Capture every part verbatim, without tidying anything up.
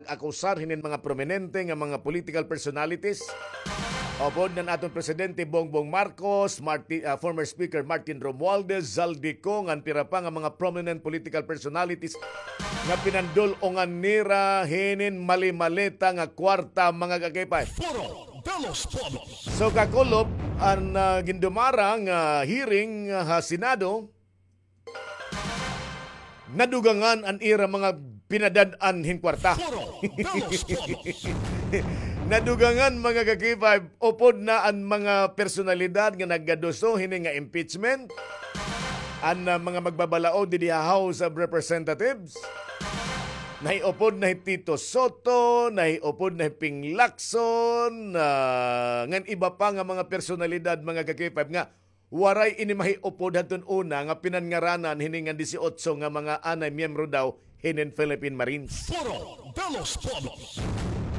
akusar hinin mga prominente nga mga political personalities. Upod na an aton Presidente Bongbong Marcos, Marti-, ah, former Speaker Martin Romualdez, Zaldy Co, ngan pira pa nga mga prominent political personalities nga pinandul-ongan nira hinin mali-maleta nga kwarta, mga kakipay. Foro de los Pueblos. So, kakulop, an, ah, gindumara nga hearing, ah, ha Senado, nadugangan an ira mga pinadad-an hin kwarta. Foro de los Pueblos. Nadugangan, mga ka-K five, upod na an mga personalidad nga nagaduso hini nga impeachment. An, ah, mga magbabalaod didi ha House of Representatives. Nahiupod na hi Tito Sotto, nahiupod na hi Ping Lacson, ah, ngan iba pa nga mga personalidad, mga ka-K five, nga waray ini mahiupod hadton una nga pinanngaranan hini nga disiotso nga mga anay miyembro daw hinin Philippine Marines. Foro de los Pueblos.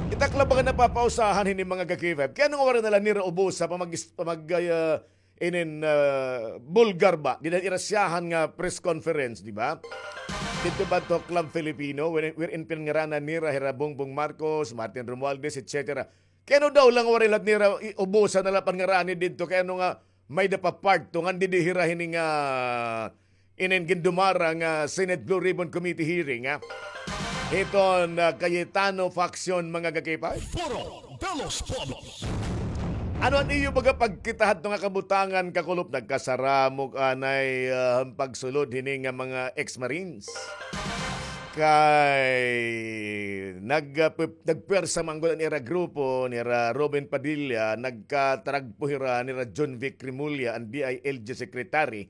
Ita la baga napapausahan hini, mga ka-K five. Kay ano nga waray na la nira ubosa pamag-, pamag-, ah, inin, ah, bulgar ba? Dida han ira siyahan nga press conference, di ba? Didto ba to Club Filipino, wherein, wherein pinanngaranan nira hira Bongbong Marcos, Martin Romualdez, et cetera. Kay ano daw la waray la nira i-, ubosa na la pangarani didto, kay ano nga may-ada pa part two ngan didi hira hini nga inin gindumara nga Senate Blue Ribbon Committee hearing, ha? Hiton, ah, Cayetano faction, mga ka-K five. Foro de los Pueblos. Ano an iyo baga pagkita hadto nga kabutangan, kakulop? Nagkasaramok anay, ah, an pagsulod hini nga mga ex-Marines. Kay nag-, ah, pep-, nagpwersa man gud an ira grupo, nira Robin Padilla, nagkataragpo hira nira Jonvic Remulla, an D I L G secretary.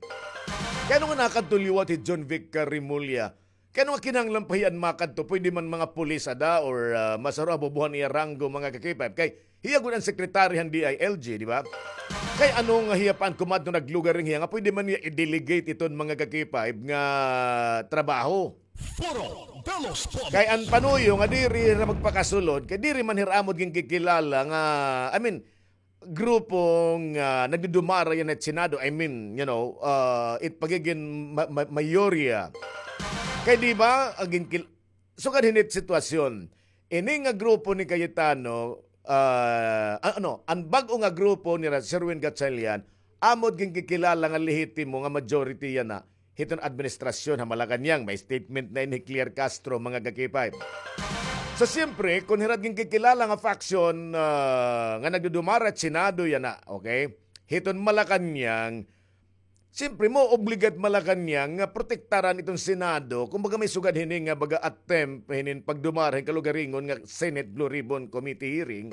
Kay ano nga nakadto liwat hi Jonvic, ah, Remulla? Kay ano nga kinahanglan pa hiya an makadto? Pwede man mga pulis ada or, ah, mas haro ha bubuhan iya ranggo, mga ka-K five. Kay hiya gud an secretary han D I L G, di ba? Kay ano nga hiya pa an kumadto naglugar hiya nga pwede man niya i-delegate iton, mga ka-K five, nga trabaho? Foro de los Pueblos. Kay an panuyo nga diri hira magpakasulod, kay diri man hira amo gad ginkikilala nga, I mean, grupo nga nagdudumara yana ha Senado, I mean, you know, ah, it pagigin ma-, ma-, mayorya. Kay di ba, agin kil-, sugad hini it sitwasyon, ini nga grupo ni Cayetano, ah, a-, ano, an bag-o nga grupo nira Sherwin Gatchalian, amo gad ginkikilala nga lehitimo nga majority yana hiton administrasyon ha Malacañang. May statement na ini hi Claire Castro, mga ka-K five. So, siyempre, kon hira ginkikilala nga faction, ah, nga nagdudumara ha Senado yana, okay? Hiton Malacañang, siyempre, maoobliga it Malacañang nga protektaran iton Senado, kumbaga may sugad hini nga baga attempt hinin pagdumara hin kalugaringon nga Senate Blue Ribbon Committee hearing.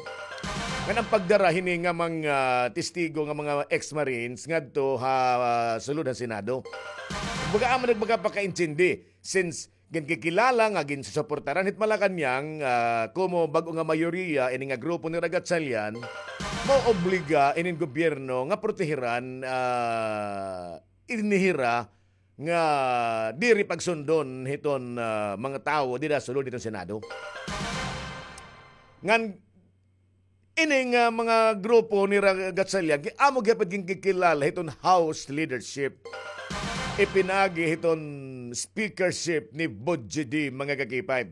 Ngan an pagdara hini nga mga testigo nga mga ex-Marines ngadto ha, ah, sulod han Senado. Baga amo nagmagapakaintindi, since ginkikilala nga ginsusuportaran hit Malacañang, ah, komo bag-o nga mayoriya ini nga grupo ni Gatchalian, maobliga inin gobyerno nga protehiran, ah, ini hira nga diri pagsundon hiton, ah, mga tawo dida sulod hiton Senado. Ngan ini nga mga grupo ni Ra-, Gatchalian, gi-, amo gihapon ginkikilala hiton House leadership. Ipinaagi hiton speakership ni Budgie D, mga ka-K five.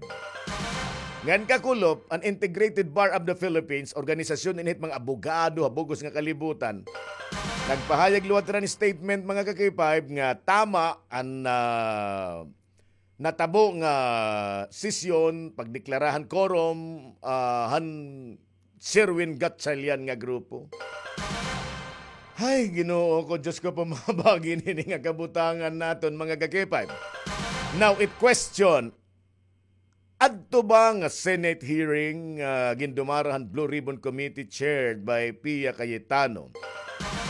Ngan kakulop, an Integrated Bar of the Philippines, organisasyon ini hit mga abogado ha bug-os nga kalibutan, nagpahayag liwat hira hin statement, mga ka-K five, nga tama an, ah, natabo nga sesyon, pagdeklara han quorum, ah, han Sherwin Gatchalian nga grupo. Hay, Ginoo ko, Diyos ko, pamabagi nini nga kabutangan naton, mga ka-K five. Now, it question, adto ba nga Senate hearing, ah, gindumara han Blue Ribbon Committee chaired by Pia Cayetano?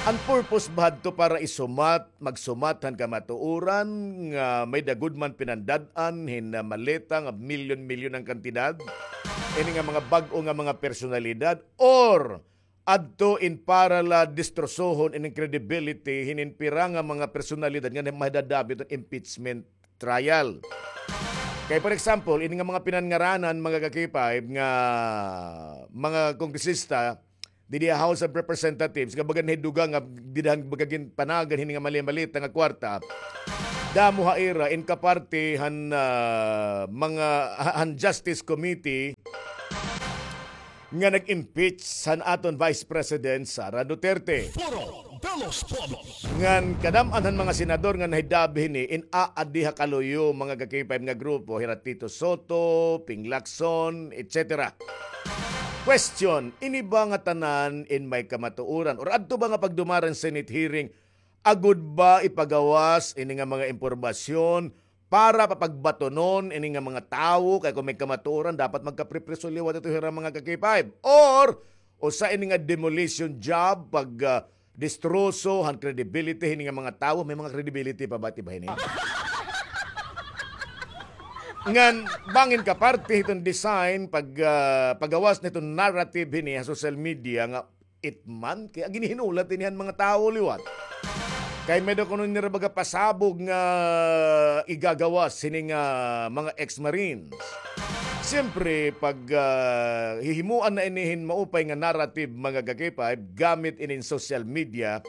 An purpose ba hadto para isumat, magsumat han kamatuoran nga may-ada gud man pinandad-an hin, ah, maleta nga milyon-milyon an kantidad? Ini nga mga bag-o nga mga personalidad, or adto in para la destrosohon inin credibility hinin pira nga mga personalidad nga madadamit hin impeachment trial. Kay, for example, ini nga mga pinanngaranan, mga ka-K five, nga mga kongresista didi ha House of Representatives, nga baga nahidugang nga dida han baga ginpanagan hini nga mali-malita nga kwarta, damo ha ira in kaparte han, ah, mga, ha-, han Justice Committee, nga nag-impeach han aton Vice President Sara Duterte. Foro de los Pueblos. Ngan kadam-an han mga senador nga nahidabi hini in aadi ha kaluyo, mga ka-K five nga grupo, hira Tito Sotto, Ping Lacson, et cetera. Question, ini ba nga tanan in may kamatuoran? Or adto ba nga pagdumara han Senate hearing, agod ba ipagawas ini nga mga impormasyon para papagbatonon ini nga mga tawo, kay kon may kamatuoran, dapat magkapripriso liwat ito hira, mga ka-K five. Or, usa ini nga demolition job, pag, ah, distroso han credibility hini nga mga tawo, may mga credibility pa ba, ti ba hini? Ngan, bangin ka parte hiton design, pag, ah, pagawas niton narrative hini ha social media nga it man, kay ginhinulat ini han mga tawo liwat. Kay may-ada kuno nira baga pasabog nga igagawas hini nga mga ex-marines. Siyempre, pag, ah, hihimuan na ini hin maupay nga narrative, mga ka-K five, gamit inin social media,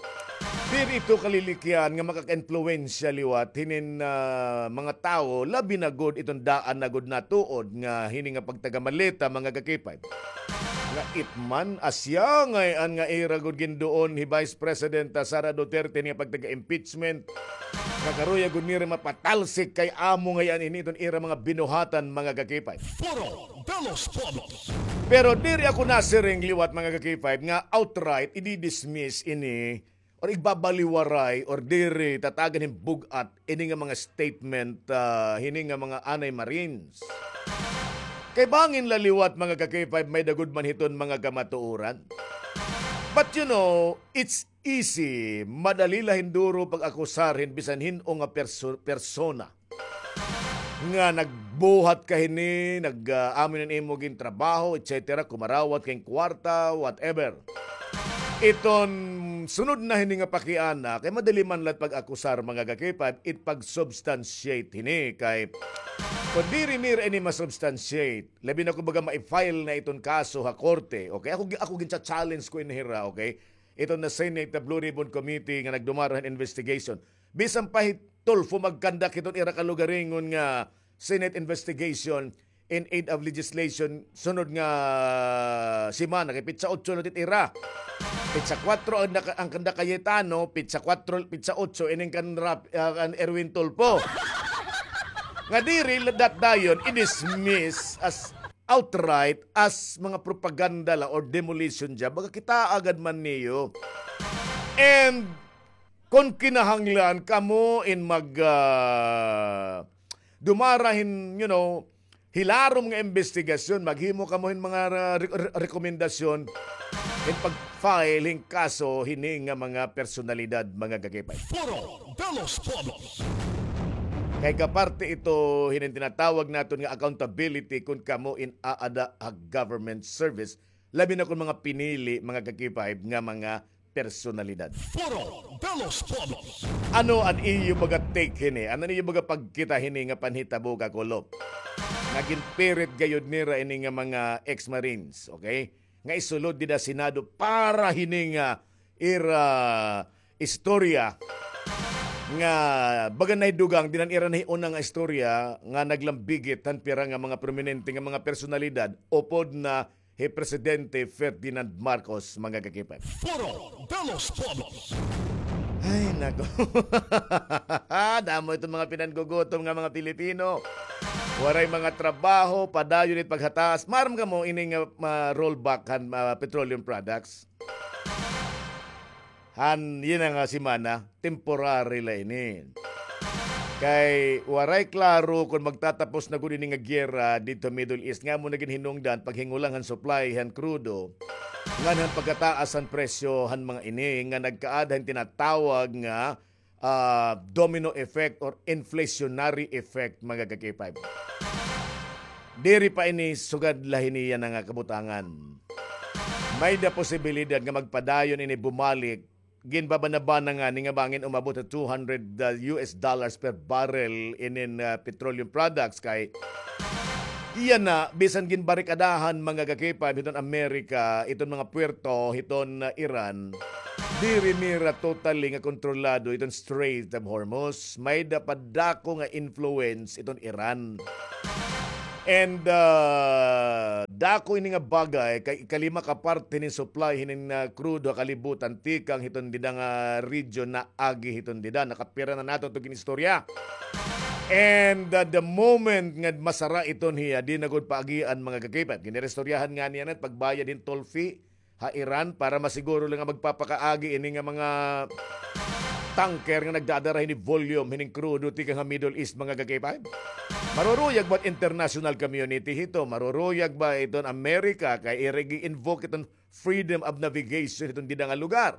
diri ito kalilikyan nga makaka-impluwensya liwat hinin, ah, mga tawo, labi na gud iton daan na gud natuod nga hini nga pagtagamaleta, mga ka-K five. Nga it man, asya ngay-an nga ira gud ginduon hi Vice Presidenta Sara Duterte nga pagtaga-impeachment. Nga karuya gud nira mapatalsik kay amo ngay-an ini iton ira mga binuhatan, mga ka-K five. Foro de los Pueblos. Pero diri ako nasiring liwat, mga ka-K five, nga outright i-dismiss ini or igbabaliwaray or diri tatagan hin bug-at ini nga mga statement, ah, hini nga mga anay Marines. Kay bangin la liwat, mga ka-K five, may-ada gud man hiton mga kamatuoran. But you know, it's easy, madali la hin duro pag-akusar hin bisan hin-o nga perso-, persona nga nagbuhat ka hini, nag, ah, amo hin imo gintrabaho, et cetera, kumarawat ka hin kwarta, whatever. Iton sunod na hini nga pakiana, kay madali man la it pag-akusar, mga ka-K five, it pag-substantiate hini, kay kon diri nira ini ma-substantiate, labi na kon baga ma-file na iton kaso ha korte, okay? Ako, gi-, ako gincha-challenge ko ini hira, okay? Iton na Senate, the Blue Ribbon Committee nga nagdumara hin investigation. Bisan pa hi Tulfo mag-conduct hiton ira kalugaringon nga Senate investigation in aid of legislation sunod nga semana, kay pitsa otso na it ira. Pitsa kwatro an naka-, an kanda Cayetano, pitsa kwatro, pitsa otso ining kan Rap-, ah, kan Erwin Tulfo. Nga diri la dat dayon i-dismiss as outright as mga propaganda la or demolition job. Baga kita agad man niyo. And kon kinahanglan kamo in mag, ah, dumara hin, you know, hilarom nga imbestigasyon, maghimo kamo hin mga, ah, re-, re-, rekomendasyon hin pag-file hin kaso hini nga mga personalidad, mga ka-K five. Foro de los Pueblos. Kay kaparte ito hinin tinatawag naton nga accountability kon kamo in aada ha government service, labi na kon mga pinili, mga ka-K five, nga mga personalidad. Foro de los Pueblos. Ano an iyo baga take hini? Ano an iyo baga pagkita hini nga panhitabo, Kakulop? Nga ginpirit gayod nira ini nga mga ex-marines, okay? Nga isulod dida Senado para hini nga ira istorya nga baga nahidugang dinan ira nahiuna nga istorya nga naglambigit han pira nga mga prominente nga mga personalidad upod na hi Presidente Ferdinand Marcos, mga ka-K five. Foro de los Pueblos. Ay, nako. Damo iton mga pinanggugutom nga mga Pilipino. Waray mga trabaho, padayon it paghataas. Maaram kamo ini nga, ah, rollback han, ah, petroleum products? Han, yana nga semana, temporary la ini. Kay waray klaro kon magtatapos na gud ini nga giyera didto ha Middle East, nga amo na ginhinungdan paghingulang han supply han krudo, ngan han pagkataas han presyo han mga ini nga nagkaada hin tinatawag nga, ah, domino effect or inflationary effect, mga ka-K five. Diri pa ini sugad la hini yana nga kabutangan. May-da posibilidad nga magpadayon ini bumalik. Ginbabanabana ngani nga bangin umabot ha two hundred, ah, U S dollars per barrel inin, ah, petroleum products kay yana, bisan ginbarikadahan, mga ka-K five, hiton Amerika iton mga puerto hiton, ah, Iran, diri nira totally nga kontrolado iton Strait of Hormuz. May-da pa dako nga influence iton Iran. And, ah, Dako ini nga bagay kay ikalima ka parte hinin supply hinin, ah, crude ha kalibutan tikang hiton dida nga region naagi hiton dida. Nakapira na naton ito ginistorya. And, ah, the moment nga masara iton hiya, di na gud paagian, mga ka-K five. Giniristoryahan nga niya na pagbayad hin toll fee ha Iran para masiguro la nga magpapakaagi ini nga mga tanker nga nagdadara hini volume hining krudo tikang ha Middle East, mga ka-K five. Maruruyag ba international community hito? Maruruyag ba iton America kay ira gi-invoke iton freedom of navigation hiton dida nga lugar?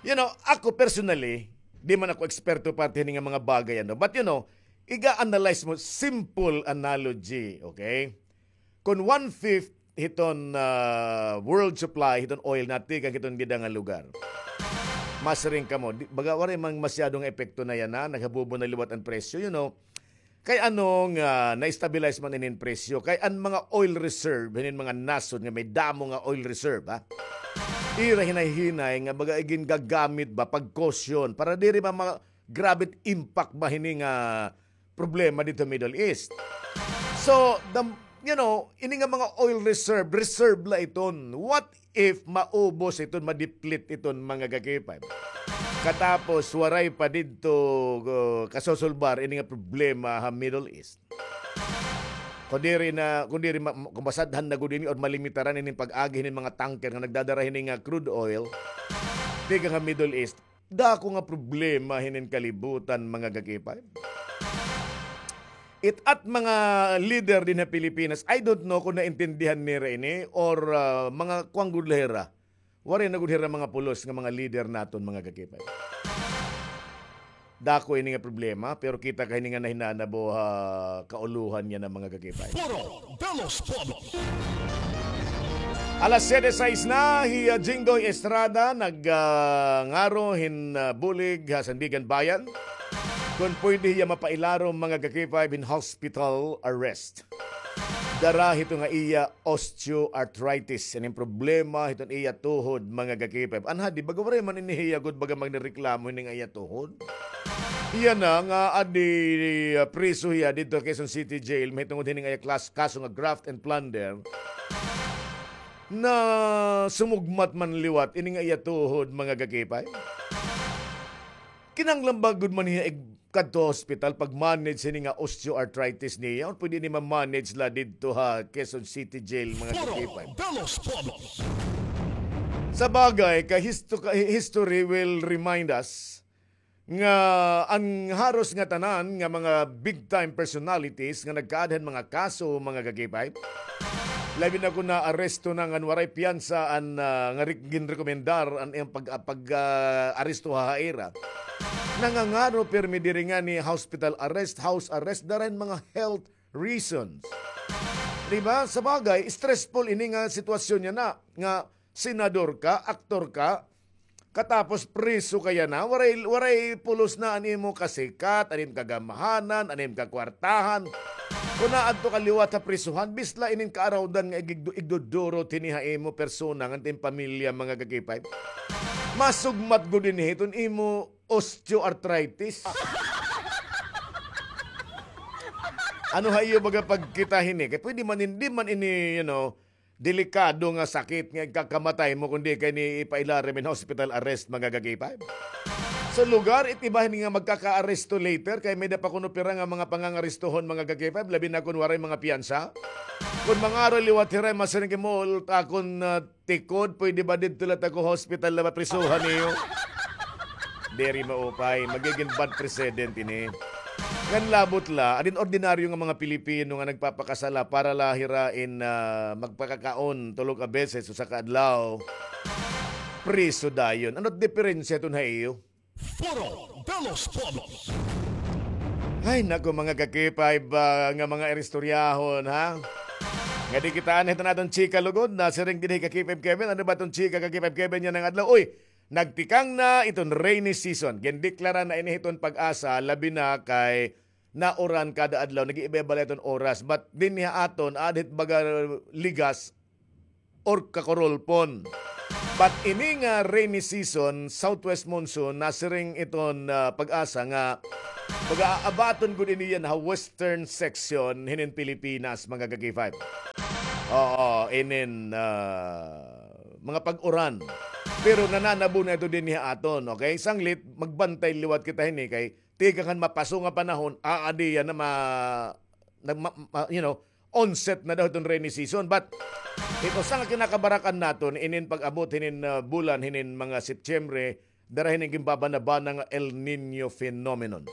You know, ako personally, di man ako eksperto parte hini nga mga bagay, ano. But, you know, iga-analyze mo, simple analogy, okay? Kon one-fifth hiton, ah, world supply hiton oil natikang hiton dida nga lugar. Masiring kamo, di, baga waray man masyado nga epekto na yana, naghabubo na liwat an presyo, you know. Kay ano nga na-stabilize man inin presyo? Kay an mga oil reserve, hinin mga nasod nga may damo nga oil reserve, ha? Ira hinay-hinay nga baga igingagamit ba pag caution para diri ba ma-, grabe impact ba hini nga problema didto Middle East. So, the, you know, ini nga mga oil reserve, reserve la iton. What if maubos iton, ma-deplete iton, mga ka-K five? Katapos, waray pa didto, uh, kasusulbar ini nga problema ha Middle East. Kundiri na, kundiri ma-, kung masadhan na gud ini or malimitaran ini pag-agi hinin mga tanker nga nagdadara hini nga crude oil, tikang ha Middle East, dako nga problema hinin kalibutan, mga ka-K five. It at mga leader dinhi ha Pilipinas, I don't know kung naintindihan nira ini or, ah, mga kuan gud la hira. Waray na gud hira mga pulos nga mga leader naton, mga ka-K five. Dako ini nga problema, pero kita ka hini nga nahinanabo ha kaulohan niya na, mga ka-K five. Foro de los Pueblos. Alas siyete sais na, hi, ah, Jinggoy Estrada nag, ah, ngaro hin, ah, bulig ha Sandiganbayan kon pwede hiya mapailarom, mga ka-K five, hin hospital arrest. Dara hito nga iya osteoarthritis. Ining problema hiton iya tuhod, mga ka-K five. Anha, di baga waray man ini hiya gud baga magnireklamo hining iya tuhod. Iya na nga adi, ah, priso hiya didto ha Quezon City Jail mahitungod hining iya klas-, kaso nga graft and plunder. Na sumugmat man liwat ini nga iya tuhod, mga ka-K five. Kinahanglan ba gud man hiya ig-, kadto hospital pag-manage hini nga osteoarthritis niya? Or pwede ini ma-manage la didto ha Quezon City Jail, mga ka-K five? Foro de los Pueblos. Sa bagay, kay histo-, kay history will remind us nga an haros nga tanan nga mga big time personalities nga nagkaada han mga kaso, mga ka-K five, labi na kon naaresto na ngan waray piyansa an, ah, nga rek-, ginrekomendar an iyang pag-, ah, pag, ah, aresto ha ira. Nangangaro pirmi diri ngani hospital arrest, house arrest, dara hin mga health reasons. Di ba? Sa bagay, stressful ini nga sitwasyon niya na, nga senador ka, aktor ka, katapos priso ka yana, waray, waray pulos na an imo kasikat, an im kagamhanan, an im kakwartahan. Kon naadto ka liwat ha prisohan, bisla inin kaarawdan nga igigdu-, igdudurot hini ha imo persona ngan it im pamilya, mga ka-K five. Masugmat gud ini hiton imo osteoarthritis. Ano ha iyo baga pagkita hini? Kay pwede man in-, di man ini, you know, delikado nga sakit nga ikakamatay mo kundi kay ni ipailarim in hospital arrest, mga ka-K five. Sa lugar, it iba hini nga magkakaaresto later kay may-ada pa kuno pira nga mga pangangarestohon, mga ka-K five, labi na kon waray mga piyansa. Kon mangaro liwat hira, masiring kay mo, akon, ah, tikod, pwede ba didto la ta ko hospital la maprisohan niyo? Diri maupay, magigin bad precedent ini. Ngan labot la, adin ordinaryo nga mga Pilipino nga nagpapakasala para la hira in, ah, magpakakaon tulo ka beses usa ka adlaw, priso dayon. Ano diferensya ton ha iyo? Foro de los Pueblos. Ay, naku, mga ka-K five, ah, nga mga iristoryahon, ha? Nga di kita anhi ta naton chika lugod, nasiring dinhi ka-K five Kevin. Ano ba ton chika ka-K five Kevin yana nga adlaw? Uy, nagtikang na iton rainy season. Gindeklara na ini hiton PAGASA, labi na kay nauran kada adlaw, nag-iiba-iba la iton oras. But dinhi ha aton, aada hit baga ligas or kakurulpon. But ini nga rainy season, southwest monsoon, nasiring iton, ah, PAGASA nga mag-aabaton gud ini yana ha western section hinin Pilipinas, mga ka-K five. Oo, inin, ah, mga pag-uran. Pero nananabo na ito dinhi ha aton, okay? Sanglit, magbantay liwat kita hini kay tikang han mapaso nga panahon, aadi yana ma-, nag-, ma-, ma-, you know, onset na daw iton rainy season. But it usa nga kinakabarakan naton inin pag-abot hinin, ah, bulan, hinin mga Setyembre, dara hinin ginbabanabana nga El Niño phenomenon.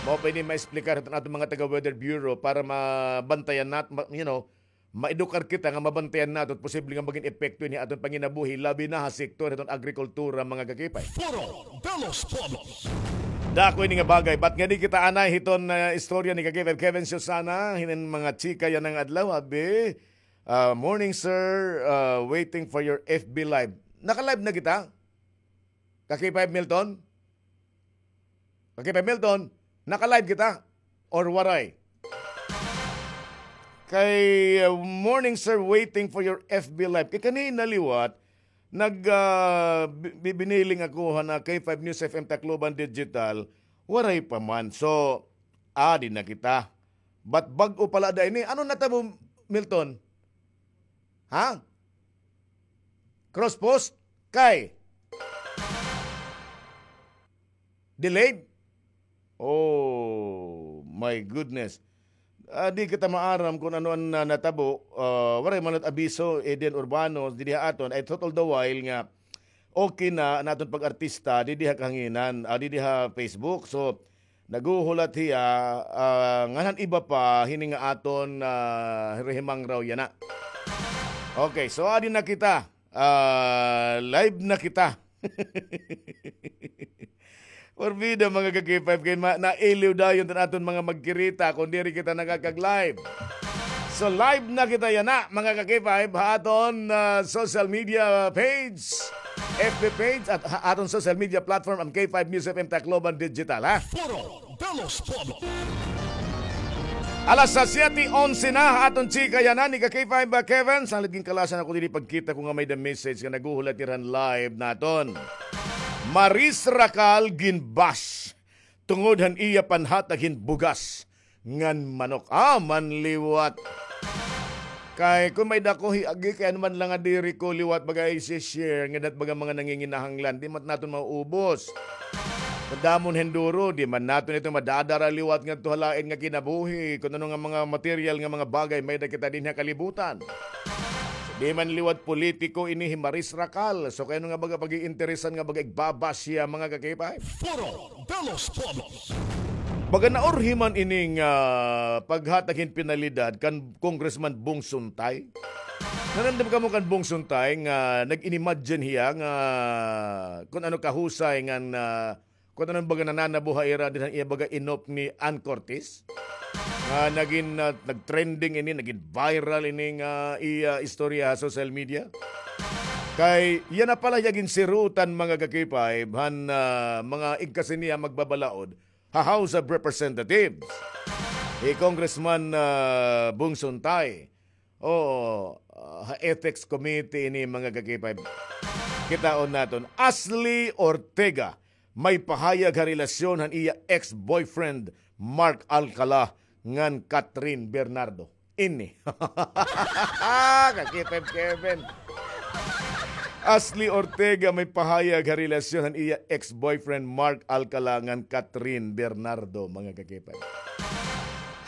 Mao pa ini maexplikar hiton aton mga taga Weather Bureau para mabantayan nat-, ma-, you know, maedukar kita nga mabantayan naton posible nga magin epekto ini ha aton panginabuhi, labi na ha sektor hiton agrikultura, mga kakipay. Foro de los Pueblos. Dako ini nga bagay. But ngadi kita anay hiton, ah, istorya ni kakipay Kevin Susana, hinin mga chika yana nga adlaw, abi. Ah, morning, sir. Ah, waiting for your F B live. Naka-live na kita? Kakipay Milton? Kakipay Milton, naka-live kita? Or waray? Kay, uh, morning, sir, waiting for your F B live. Kay kanina liwat, nag, ah, bi-, bi-, biniling ako ha na K five News F M Tacloban Digital, waray pa man. So, adi na kita. But bag-o pala da ini. Ano natabo, Milton? Ha? Cross post? Kay? Delayed? Oh, my goodness. Ah, di kita maaram kung ano an, ah, natabo. Ah, waray man it abiso, Eden Urbano, didi ha aton. I thought all the while nga okay na an aton pag-artista, didi ha kahanginan, ah, didi ha Facebook. So, naghuhulat hiya, ah, ngan han iba pa, hini nga aton, ah, rehimang raw yana. Okay, so adi na kita. Ah, live na kita. Porbida, mga ka-K five, kay ma-, nailiw dayon iton aton mga magkirita kon diri kita nakakag-live. So, live na kita yana, mga ka-K five, ha aton, ah, social media page, F B page, at ha aton social media platform, an K five News F M Tacloban Digital, ha? Foro de los Pueblos. Alas siyete onse na ha aton chika yana ni ka K five, ah, Kevin. Sanglit ginkalasan ako diri pagkita ko nga may-ada message nga naghuhulat hira han live naton. Maris Racal ginbash tungod han iya panhatag hin bugas ngan manok. Ah, man liwat. Kay kon may-ada ko hiagi, kay ano man la nga diri ko liwat baga isi-share, ngada it baga mga nanginginahanglan, di man naton mauubos. Madamo hin duro, di man naton ito madadara liwat ngadto ha lain nga kinabuhi. Kon ano nga mga material nga mga bagay may-ada kita dinhi ha kalibutan. Di man liwat politiko ini hi Maris Racal. So, kay ano nga baga pag-iinteresan nga baga igbabash hiya, mga ka-K five? Foro de los Pueblos. Baga naurhi man ining, ah, paghatag hin penalidad kan Congressman Bong Suntay. Nanamdam kamo kan Bong Suntay nga nag-inimagine hiya nga kon ano kahusay ngan, ah, kon ano baga nananabo ha ira dinhi han iya baga inop ni Ann Curtis? Nga nagin, ah, nag-trending ini, nagin viral ini nga iya istorya ha social media. Kay yana pala hiya ginsirutan, mga ka-K five, han, ah, mga igkasi niya magbabalaod ha House of Representatives, hi Congressman, ah, Bong Suntay. Oo, ah, ha Ethics Committee ini, mga ka-K five. Kitaon naton, Ashley Ortega may pahayag ha relasyon han iya ex-boyfriend Mark Alcala ngan Catherine Bernardo. Ini. Ka-K five Kevin. Ashley Ortega may pahayag ha relasyon han iya ex-boyfriend Mark Alcala ngan Catherine Bernardo, mga ka-K five.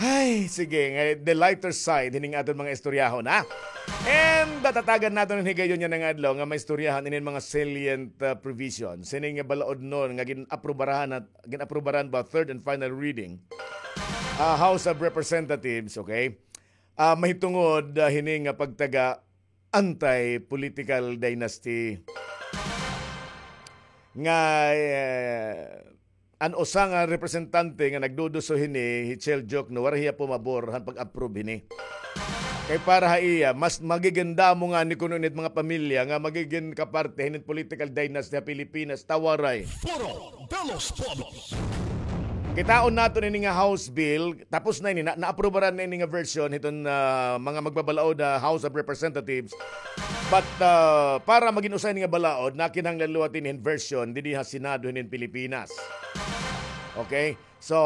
Ay, sige, nga, the lighter side hining aton mga istoryahon, ha? And natatagan naton an higayon yana nga adlaw nga maistoryahan inin mga salient, uh, provisions hining balaod noon nga gin-aprubaran at gin-aprubaran ba third and final reading, ah, House of Representatives, okay? Ah, mahitungod, ah, hini nga pagtaga anti-political dynasty nga, eh, an usa nga representante nga nagduduso hini, hi Chel Diokno, waray hiya pumabor han pag-approve hini. Kay para ha iya, mas magigin damo ngani kuno ini it mga pamilya nga magigin kaparte hinin political dynasty ha Pilipinas, ta waray. Foro de los Pueblos. Kitaon naton ini nga House Bill, tapos na ini, na, naaprubaran na ini nga version hiton, ah, mga magbabalaod ha House of Representatives. But, ah, para magin usa ini nga balaod, nakinahanglan liwat ini hin version didi ha Senado hinin Pilipinas. Okay? So,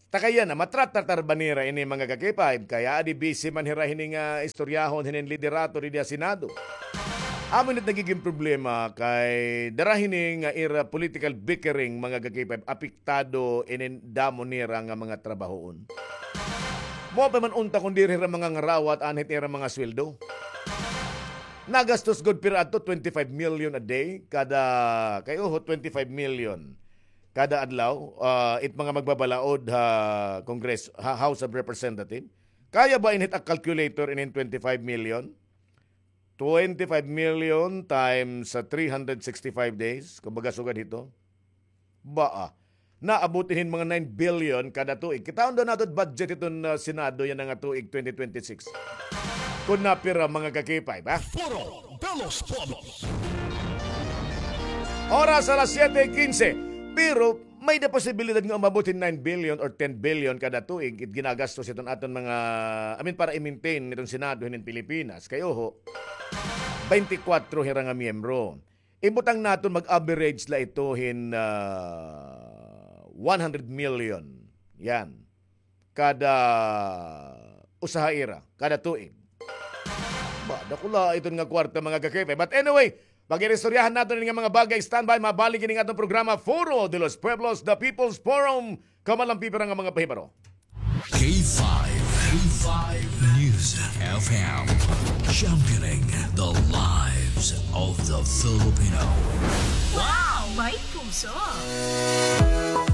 takaya na, matratratar ba nira ini mga ka-K five? Kay adi busy man hira hini nga istoryahon hinin liderato didi ha Senado. Amo ini nagigin problema kay dara hini nga ira political bickering mga ka-K five, apektado ini damo nira nga mga trabahoon. Mao pa man unta kon diri hira mangangarawat anhit ira mga sweldo. Nagastos gud pira adto, twenty-five million a day kada, kay oho, twenty-five million kada adlaw, ah, it mga magbabalaod ha Congress, ha House of Representative. Kaya ba inhit a calculator inin twenty-five million? Twenty-five million times sa three hundred sixty-five days, kumbaga sugad hito. Baa, naabot hin mga nine billion kada tuig. Kitaon daw naton budget hiton, ah, Senado yana nga tuig twenty twenty-six. Kon napira mga ka-K five, ha? Foro de los Pueblos. Oras alas siyete quince. Pero may-ada posibilidad nga umabot hin nine billion or ten billion kada tuig it ginagastos hiton aton mga, I mean, para i-maintain hiton Senado hinin Pilipinas. Kay oho, twenty-four hira nga miyembro. Ibutang naton mag-average la ito hin, ah, one hundred million. Yan. Kada usa ha ira, kada tuig. Ba, dakula iton nga kwarta, mga ka-K five. But anyway, pag-iristoryahan naton ini nga mga bagay, standby, mabalik ini nga aton programa, Foro de los Pueblos, the People's Forum. Kaman lang pipira nga mga pahibaro. K five, K five News F M, championing the lives of the Filipino. Wow! May puso!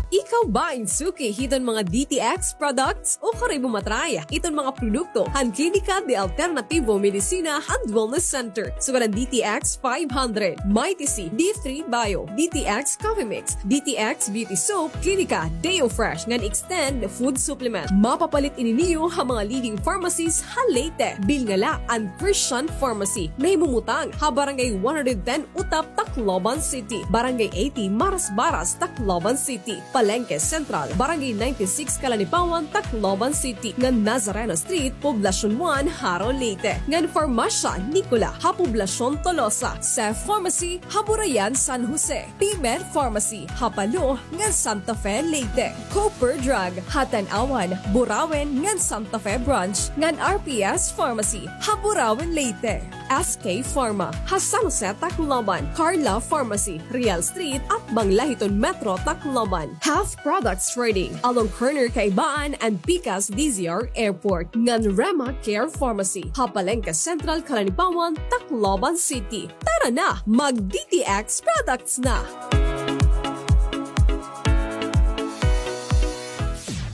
Ikaw ba in suki hiton mga D T X products? O kari mo matry iton mga produkto han Klinika de Alternativo Medicina and Wellness Center, sugad han D T X five hundred, Mighty C, D three Bio, D T X Coffee Mix, D T X Beauty Soap, Klinika Deo Fresh ngan Extend Food Supplement. Mapapalit ini niyo ha mga leading pharmacies ha Leyte. Bilnga la an Christian Pharmacy, nahimumutang ha Barangay one hundred ten Utap, Tacloban City, Barangay eighty Marasbaras, Tacloban City, Palengke Central, Barangay ninety-six Calanipawan, Tacloban City, ngan Nazareno Street, Poblacion one, Jaro, Leyte, ngan Farmasya Nicola ha Poblacion Tolosa, Seth Pharmacy ha Burayan, San Jose, P-Med Pharmacy ha Palo ngan Santa Fe, Leyte, Cooper Drug ha Tanauan, Burauen ngan Santa Fe Branch, ngan R P S Pharmacy ha Burauen, Leyte. S K Pharma ha San Jose, Tacloban, Carla Pharmacy, Real Street, atbang la hiton Metro Tacloban, Half Products Trading, along corner Kaibaan and Pikas D Z R Airport, ngan Rema Care Pharmacy ha Palengke Central, Calanipawan, Tacloban City. Tara na, mag-D T X products na!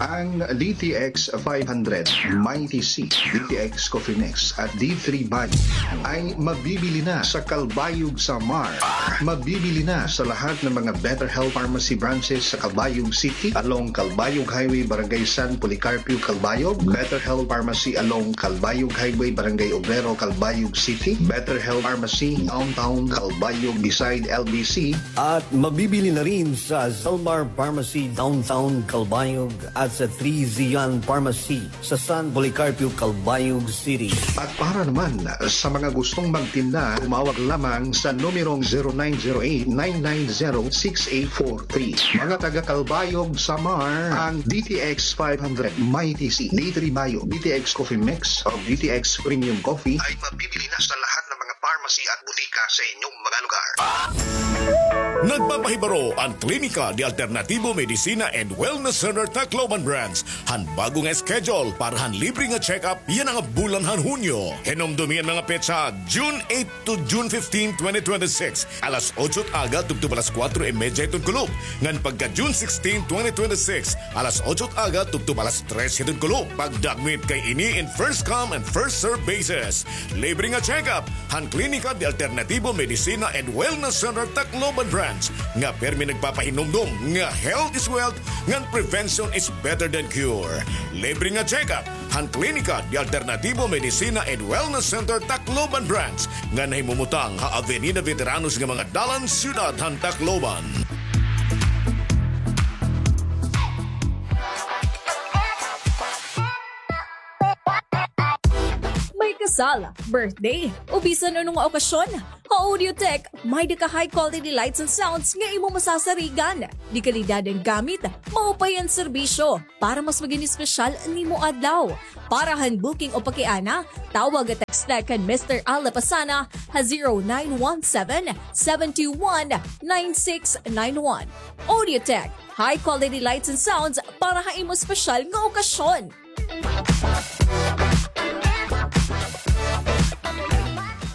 Ang D T X five hundred, Mighty C, D T X Coffee Mix at D three Bio ay mabibili na sa Calbayog, Samar. Mabibili na sa lahat ng mga Better Health Pharmacy branches sa Calbayog City, along Calbayog Highway, Barangay San Policarpio, Calbayog, Better Health Pharmacy along Calbayog Highway, Barangay Obrero, Calbayog City, Better Health Pharmacy Downtown Calbayog beside L B C, at mabibili na rin sa Zalmar Pharmacy Downtown Calbayog at sa Three Zion Pharmacy sa San Policarpio, Calbayog City. At para naman sa mga gustong magtinda, tumawag lamang sa numerong zero nine zero eight, nine nine zero, six eight four three. Mga taga Calbayog, Samar, ang D T X five hundred, Mighty C, D three Bio, D T X Coffee Mix, o D T X Premium Coffee ay mabibili na sa lahat ng mga pharmacy at butika sa inyong mga lugar. Nagpapahibaro an Klinika de Alternativo Medicina and Wellness Center Tacloban Branch han bag-o nga schedule para han libre nga check-up yana nga bulan han Hunyo. Hinumdomi an mga petsa, June eight to June fifteen, twenty twenty-six, alas otso it aga tubtob alas kuwatro y medya hiton kulop. Ngan pagka June sixteen, twenty twenty-six, alas otso it aga tubtob alas tres hiton kulop. Pagdakmit kay ini in first come and first serve basis. Libre nga check-up han Klinika de Alternativo Medicina and Wellness Center Tacloban Branch, nga pirmi nagpapahinumdom nga health is wealth ngan prevention is better than cure. Libre nga check-up han Klinika de Alternativo Medicina and Wellness Center Tacloban Branch, nga nahimumutang ha Avenida Veteranos nga mga dalan, siyudad han Tacloban. May kasal, birthday, o bisan ano nga okasyon, Audiotech, may-ada ka high quality lights and sounds nga imo masasarigan. Dekalidad an gamit, maupay an serbisyo. Para mas magin espesyal an imo adlaw. Para han booking o pakiana, tawag o text kan Mister Al Lapasana ha zero nine one seven, seven two one, nine six nine one. Audiotech, high quality lights and sounds para ha imo espesyal nga okasyon.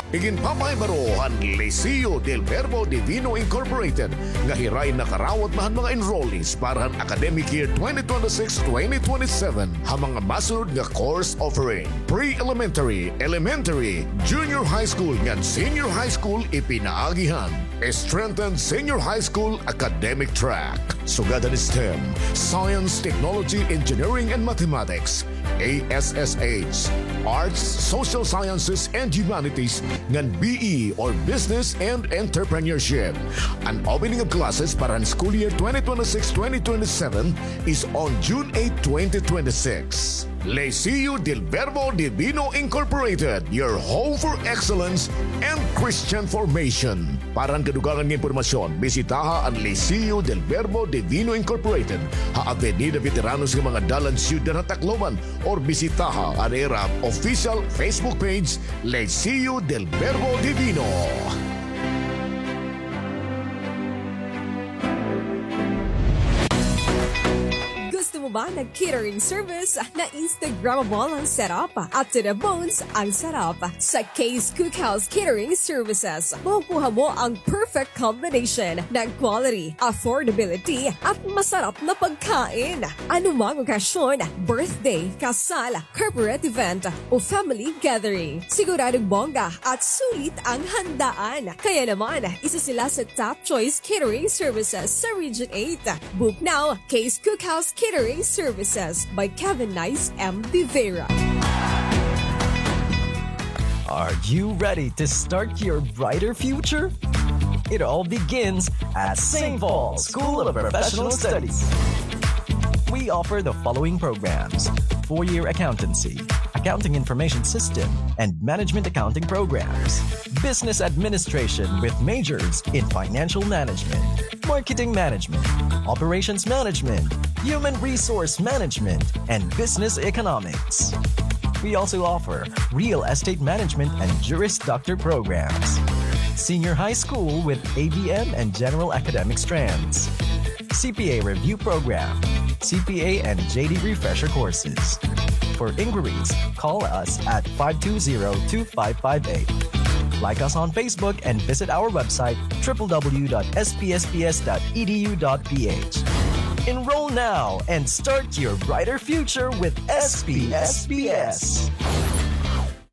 Iginpapahibaro han Liceo del Verbo Divino Incorporated nga hirain nakarawat na han mga enrollees para han academic year twenty twenty-six, twenty twenty-seven ha mga masunod nga course offering: pre-elementary, elementary, junior high school ngan senior high school. Ipinaagi han strengthened senior high school academic track, sugad han STEM, Science, Technology, Engineering, and Mathematics, A S S H, Arts, Social Sciences, and Humanities, ngan B E or Business and Entrepreneurship. An opening of classes para han school year twenty twenty-six, twenty twenty-seven is on June eight, twenty twenty-six. Liceo del Verbo Divino Incorporated, your home for excellence and Christian formation. Para han kadugangan nga impormasyon, bisitaha an Liceo del Verbo Divino Incorporated ha Avenida Veteranos nga mga dalan, Syudad ha Tacloban, or bisitaha an ira official Facebook page, Liceo del Verbo Divino. Gusto mo ba ng catering service na Instagrammable ang setup at to the bones ang sarap? Sa Kay's Cookhouse Catering Services, makukuha mo ang perfect combination ng quality, affordability, at masarap na pagkain. Anumang okasyon, birthday, kasal, corporate event, o family gathering, siguradong bongga at sulit ang handaan. Kaya naman, isa sila sa top choice catering services sa Region eight. Book now, Kay's Cookhouse Catering Services by Kevin Nice M. De Vera. Are you ready to start your brighter future? It all begins at Saint Paul School of Professional Studies. We offer the following programs: four-year accountancy, accounting information system, and management accounting programs, business administration with majors in financial management, marketing management, operations management, human resource management, and business economics. We also offer real estate management and Juris Doctor programs, senior high school with A B M and general academic strands, C P A review program, C P A and J D refresher courses. For inquiries, call us at five two zero, two five five eight. Like us on Facebook and visit our website, triple W dot S P S P S dot E D U dot P H. Enroll now and start your brighter future with S P S P S.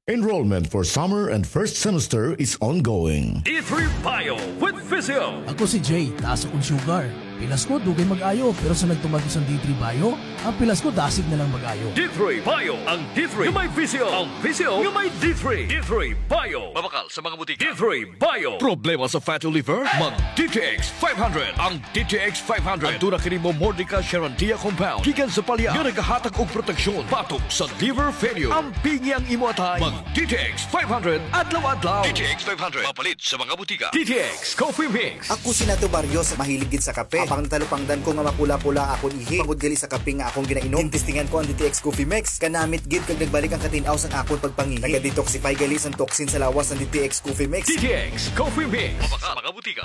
Enrollment for summer and first semester is ongoing. D three Bio with Physio. Ako si Jay, taas akon sugar. Pilas ko, dugay mag-ayo, pero sa nagtumag ko sa D three Bio, ang pilas ko, dasig na lang mag-ayo. D three Bio, ang D three nga may Physio, ang Physio nga may D three. D three Bio. Mabakal sa mga butika. D three Bio. Problema sa fatty liver? Mag D T X five hundred. Ang D T X five hundred. Aduna kini Momordica charantia compound gikan sa palya nga nagahatag og proteksyon batok sa liver failure. Ampingi ang imo atay. Mag D T X five hundred adlaw-adlaw. D T X five hundred. Mapalit sa mga butika. D T X Coffee Mix. Ako si Nato Barrios, mahilig gid sa kape. Apang natalupangdan ko nga mapula-pula akon ihi tungod gali sa kape nga akon ginainom, gintistingan ko an D T X Coffee Mix. Kanamit gid kag nagbalik an katin-aw san akon pagpangihi. Naga-detoxify gali san toxin sa lawas an D T X Coffee Mix. D T X Coffee Mix. Mabakal sa mga butika.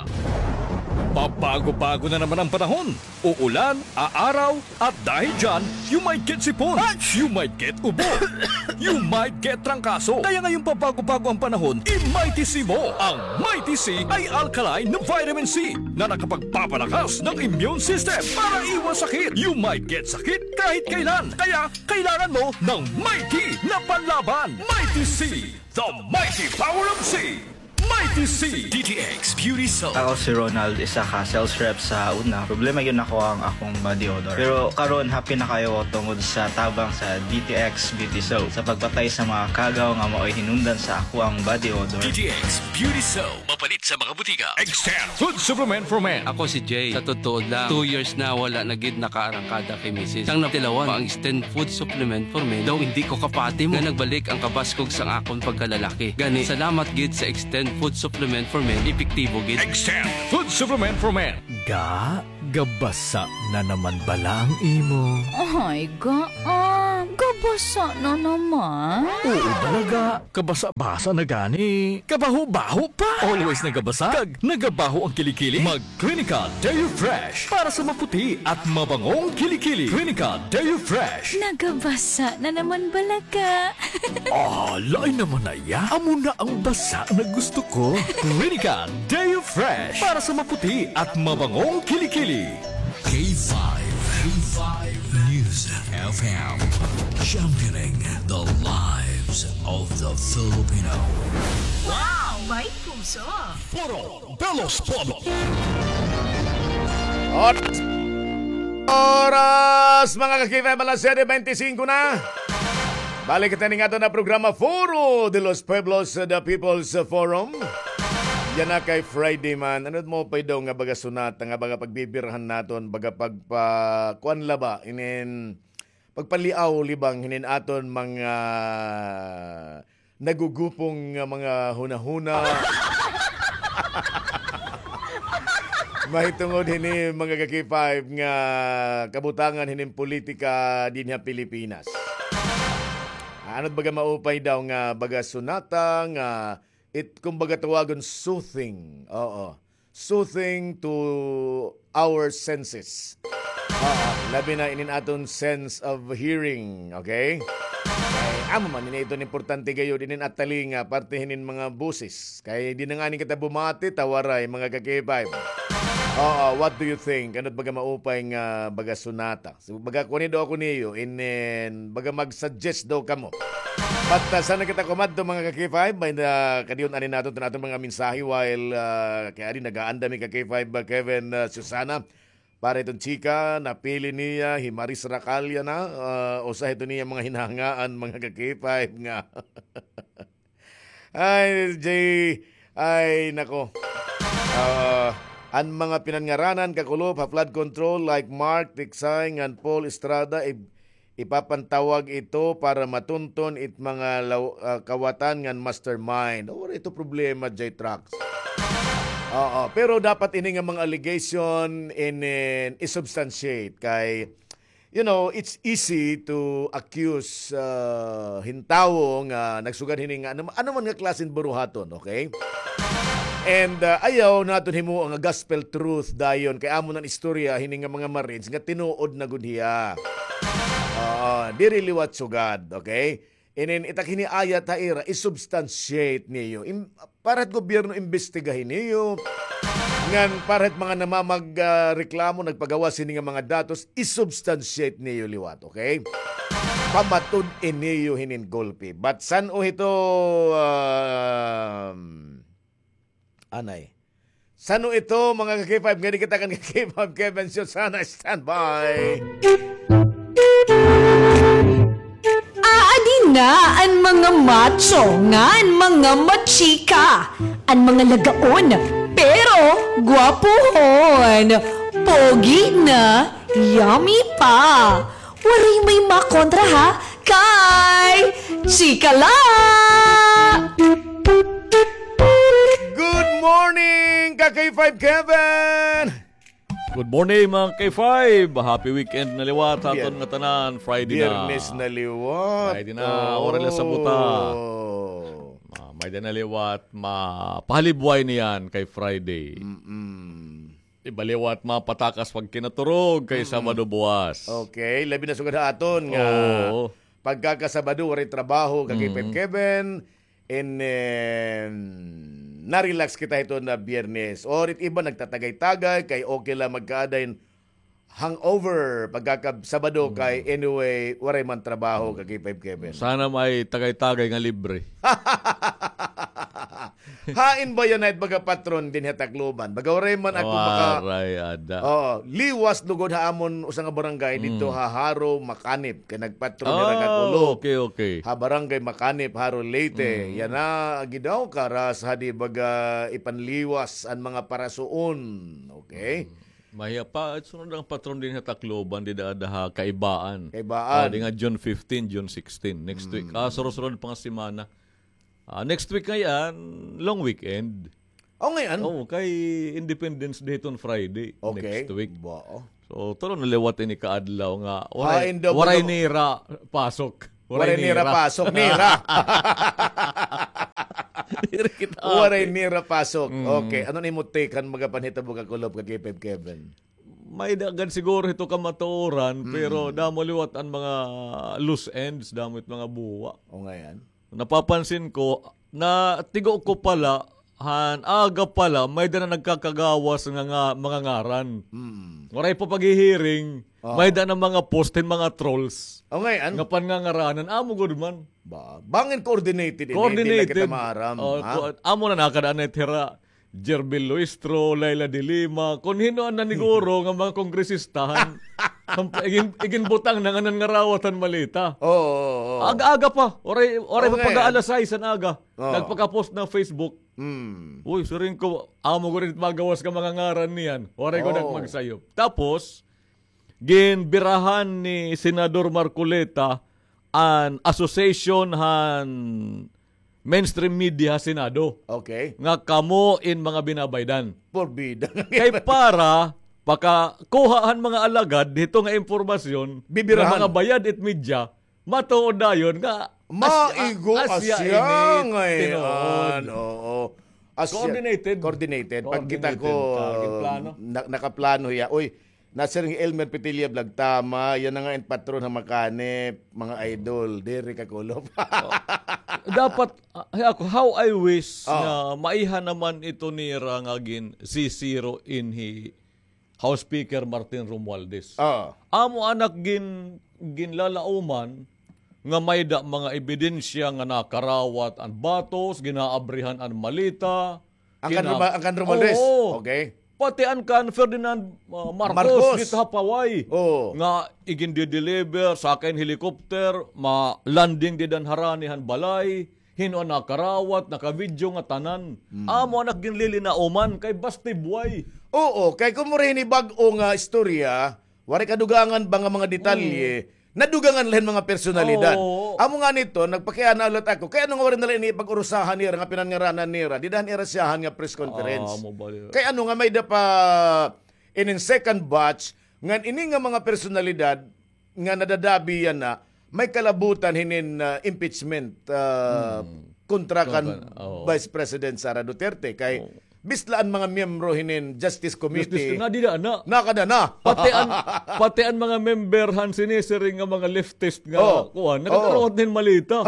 Pabago-bago na naman ang panahon. Uulan, aaraw, at dahil dyan, you might get sipon, you might get ubo, you might get trangkaso. Kaya ngayong pabago-bago ang panahon, i-Mighty C mo. Ang Mighty C ay alkaline na vitamin C na nakapagpapalakas ng immune system para iwas sakit. You might get sakit kahit kailan. Kaya kailangan mo ng Mighty na panlaban. Mighty C, the mighty power of C. Mighty C. D T X Beauty Soap. Ako si Ronald, isa ka sales rep sa una. Problema gyud nako ang akong body odor. Pero karon, happy na kaayo ko tungod sa tabang sa D T X Beauty Soap sa pagpatay sa mga kagaw nga maoy hinungdan sa akoang body odor. D T X Beauty Soap. It sa mga butika. Extend Food Supplement for Men. Ako si Jay. Sa totoo lang, two years na wala na gid nakaarangkada kay misis. Sang natilawan pa ang Extend Food Supplement for Men, daw hindi ko kapati mo nga nagbalik ang kabaskog sang akon pagkalalaki. Gani, salamat gid sa Extend Food Supplement for Men, epektibo gid. Extend Food Supplement for Men. Ga, gabasa na naman bala ang imo? Ay, ga, ah, gabasa na naman? Oo, bala ga. Kabasa-basa na gani. Kabaho-baho pa. Always nagabasa kag nagabaho ang kilikili. Mag Clinica Deo Fresh para sa maputi at mabangong kilikili. Clinica Deo Fresh. Nagabasa na naman bala ka. Ah, lain naman na iya. Amo na ang basa na gusto ko. Clinica Deo Fresh para sa maputi at mabangong kilikili. K five, K five News F M, championing the lives of the Filipino. Wow, may puso. Foro de los Pueblos. Oras, oras, mga ka-K five, alas siyete bente singko na. Balik kita ning aton nga programa, Foro de los Pueblos, the People's Forum. Yana kay Friday man. Ano mo pa daw nga baga sunata, nga baga pagbibirahan naton, baga pagpa-, kuan la ba, inin, pagpaliaw libang hinin aton mga nagugupong nga mga hunahuna. Mahitungod hini, mga ka-K five, nga kabutangan hinin politika dinhi ha Pilipinas. Ano baga maupay daw nga baga sunata nga it, kumbaga tawagon soothing. Oo. Soothing to our senses. Oo, labi na inin aton sense of hearing, okay? Kay amo man ini iton importante gayod, inin atalinga, parte hinin mga boses. Kay di na ngani kita bumati, ta waray, mga ka-K five. Oo, what do you think? Ano baga maupay nga baga sunata? So, baga kuan daw ako niyo, inin, baga mag-suggest daw kamo. But, ah, sana kita kumadto, mga ka-K five, may na, kadiyon ani naton, tan aton mga mensahe while, ah, kay ari nagaanda mi ka-K five, ah, Kevin, ah, Susana, para iton chika, napili niya, hi Maris Racalia na, ah, usa ito niya mga hinahangaan, mga ka-K five nga. Ay, Jay, ay, nako. Ah, an mga pinanngaranan kakulop ha flood control like Mark Tiksay ngan Paul Estrada, ib-, ipapantawag ito para matunton it mga law-, ah, kawatan ngan mastermind. Waray ito problema, Jay Trucks. Oo, pero dapat ini nga mga allegation in, in, isubstantiate kay you know, it's easy to accuse, ah, hin tawo nga nagsugad hini nga ano, ano man nga klase hin buruhaton, okay? And, ah, ayaw naton himuon nga gospel truth dayon kay amo na an istorya hini nga mga Marines nga tinuod na gud hiya. Oo, diri liwat sugad, okay? Inin, it ak hini ayat ha ira, isubstantiate niyo. Im-, para hit gobyerno imbestigahi niyo. Ngan para hit mga namamag-, ah, reklamo, nagpagawas hini nga mga datos, isubstantiate niyo liwat, okay? Pamatud-i niyo hinin gulpi. But san-o hito, um, anay. San-o ito, mga ka-K five, ngani kita kan ka-K five, Kevin Susana, standby. Aadi na an mga macho ngan mga machika, an mga lagaon, pero gwapuhon, pogi na, yummy pa. Waray may makontra, ha? Kay Chika La! Good morning, ka-K five Kevin! Good morning, mga K five! Happy weekend na liwat ha aton ngatanan. Friday na. Biyernes na liwat. Friday na, waray la sabuta. Ah, may-ada na liwat, mapahalibway niyan kay Friday. Mm-mm. Iba liwat mapatakas pagkinaturog kay Sabado buwas. Okay, labi na sugad ha aton nga pagkakasabado, waray trabaho, ka-K five Kevin, and, and na-relax kita hiton nga Biyernes. Or it iba nagtatagay-tagay, kay okay la magkaaday hangover pagkakasabado kay anyway, waray man trabaho, ka-K five Kevin. Sana may tagay-tagay nga libre. Hain ba yana it baga patron dinhi ha Tacloban? Baga waray man ako maka- Waray ada. Oo, liwas lugod ha amon usa nga barangay didto ha Jaro, Macanip. Kay nagpatron hira ka kulop. Okay, okay. Ha barangay Macanip, Jaro, Leyte. Yana gid daw karas hadi baga ipanliwas an mga parasuon. Okay? Mahiya pa, sunod an patron dinhi ha Tacloban, dida ada ha Kaibaan. Kaibaan. Ah, di nga June fifteen, June sixteen. Next week. Ah, sunod-sunod pa nga semana. Ah, next week ngay-an, long weekend. Oh, ngay-an? Oo, kay Independence Day hiton Friday, next week. So, tulo na liwat ini ka adlaw nga waray, waray nira pasok. Waray nira pasok, nira. Waray nira pasok. Okay, ano an imo take han mga panhitabo ka kulop ka K five Kevin? May-ada gad siguro hito kamatuoran, pero damo liwat an mga loose ends, damo it mga buwa. O, ngay-an. Napapansin ko, natigo ko pala, han aga pala, may-ada na nagkakagawas nga, nga mga ngaran. Waray pa paghihiring, may-ada na mga post hin mga trolls. O, ngay-an? Nga pangangaranan, amo gud man. Ba, bangin coordinated ini, diri la kita maaram, ha? Amo na nakada-an na it hira Jervil Luistro, Leila de Lima, kon hin-o an naniguro nga mga kongresista han, han igin-, iginbutang na nga nangarawat han maleta. Oo, oo, oo. Aga-aga pa, waray, waray pa pag-aalas sais han aga. Oo. Nagpaka-post na Facebook. Uy, siring ko, amo gud it magawas nga mga ngaran niyan. Waray gud ak magsayop. Tapos, ginbirahan ni Senador Marcoleta an association han mainstream media ha Senado. Okay. Nga kamo in mga binabaydan. Porbida. Kay para pakakuha han mga alagad hito nga impormasyon, bibirahan, nga mga bayad it media, matuod dayon nga maigo asya ini tinuod. Oo. Coordinated. Coordinated. Pagkita ko, nakaplano hiya. Uy, Nasir nga Elmer Petilla Vlog, tama. Yana nga in patron ha Macanip, mga idol. Diri ka kulop. Dapat, ah, ako, how I wish nga maiha naman ito nira nga gin-C zero in hi House Speaker Martin Romualdez. Amo an ak gin-, ginlalauman nga may-ada mga ebidensya nga nakarawat an batos, ginaabrihan an maleta. An kan Romualdez? Oo. Okay. Pati an kan Ferdinand, ah, Marcos, Marcos, didto ha Paway. Oo. Nga igindideliver, sakay hin helicopter, ma-landing dida han harani han balay, hin-o an nakarawat, nakavideo nga tanan. Amo an ak ginlilinauman kay basti buhay. Oo, kay kon mura hini bag-o nga istorya, waray kadugangan ba nga mga detalye, nadugangan la hin mga personalidad. Oo. Amo ngani ito, nagpakiana la ako. Kay ano nga waray na la ini pag-urusahan nira nga pinangaranan nira dida han ira syahan nga press conference? Kay ano nga may-ada pa inin second batch ngan ini nga mga personalidad nga nadadabi yana, may kalabutan hinin, ah, impeachment, ah, kontra kan Vice President Sara Duterte. Kay Bisla an mga miyembro hinin Justice Committee. Justice, nadida na. Nakada na. Pati an, pati an mga member han sinisiring nga mga leftist nga kuan, nakakarawat hin malita.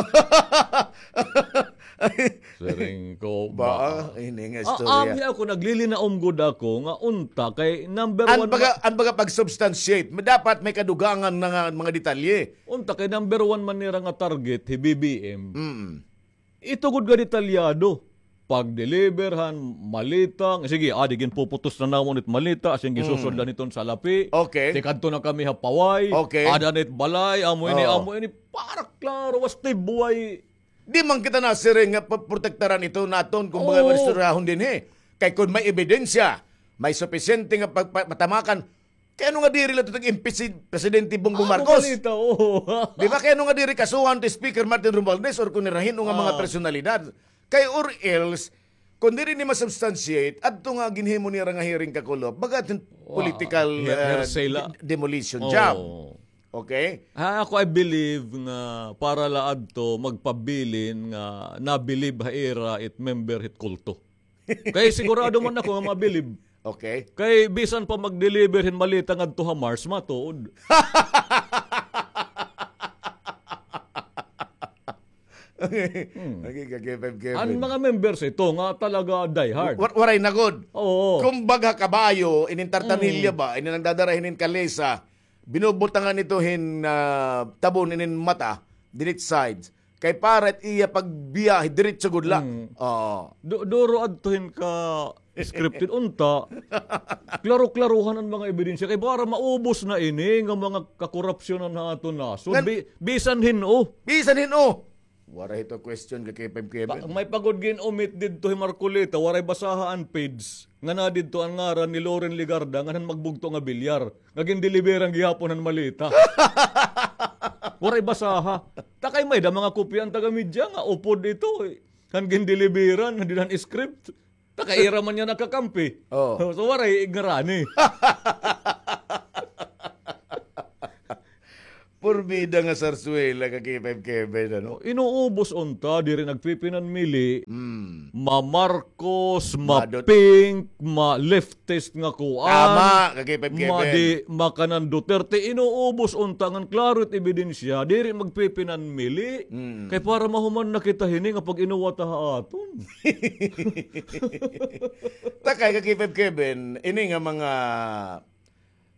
Siring ko ba? Ini nga istorya. Amo ako, naglilinaom gud ako nga unta kay number one. An baga, an baga pag-substantiate, dapat may kadugangan na nga mga detalye. Unta kay number one man nira nga target hi B B M. Ito gud nga detalyado. Pag-deliver han malita, nga sige, adi ginpuputos na namon it malita, asya ginsusod la niton salapi. Okay. Tikadto na kami ha Paway. Okay. Ada na it balay, amo ini, amo ini. Para klaro, was tibuay. Di man kita nasiring nga pa-, protektaran ito naton kung mga istoryahon dinhi. Kay kung may ebidensya, may supisyente nga pag-, pa-, patamakan, Kay ano nga diri la ito nag-impeach si Presidente Bongbong Marcos? Di ba? Kay ano nga diri kasuhan to Speaker Martin Romualdez or kung nira hin-o nga mga personalidad? Kay or else, kung diri ni ma-substantiate, adto nga ginhimo nira nga hearing kakulop, baga it political, uh, de-, demolition job. Okay? Ha, ako, I believe nga para la adto magpabilin nga nabilib ha ira it member hit kulto. Kay sigurado man ako nga mabilib. Okay. Kay bisan pa mag-deliver hin malita ngadto ha Mars, matuod. Okay, ka K five Kevin. An mga members ito nga talaga die hard. Wa-, waray na gud. Oo. Kumbaga kabayo, inin tartanilya ba, inin nagdadara hinin kalesa, binubutangan ito hin, ah, tabon inin mata, dinit sides. Kay para it iya pagbiyahe, diretso gud la. Mm. Oo. Du-, duro adto hin ka scripted. Unta, klaro-klarohan an mga ebidensya. Kay para maubos na ini nga mga kakorupsyonan ha aton nasod. Ngan- Bi-, bisan hin-o. Bisan hin-o. Waray hito question ka K five Kevin. Pa-, may pagod gin-omit didto hi Marcoleta, waray basaha an page. Nga na didto an ngaran ni Loren Legarda, ngan han magbugto nga bilyar. Nga gindeliveran gihapon han maleta. Waray basaha. Ta kay may-ada mga kopya an taga-media nga upod ito, eh. Han gindeliveran, han dinhan script. Ta kay ira man niya nakakampi. Oh. So, waray ignarani. Porbida nga sarsuela ka K five Kevin, ano? Inuubos unta, diri nagpipinanmili. Mm. Ma-Marcos, Madut- ma-pink, ma-leftist nga kuan. Tama, ka K five Kevin. Madi, makanan Duterte, inuubos unta ngan klaro it ebidensya, diri magpipinanmili. Mm. Kay para mahuman na kita hini nga pag-inuwa ta ha aton. Ta kay ka K five Kevin, ini nga mga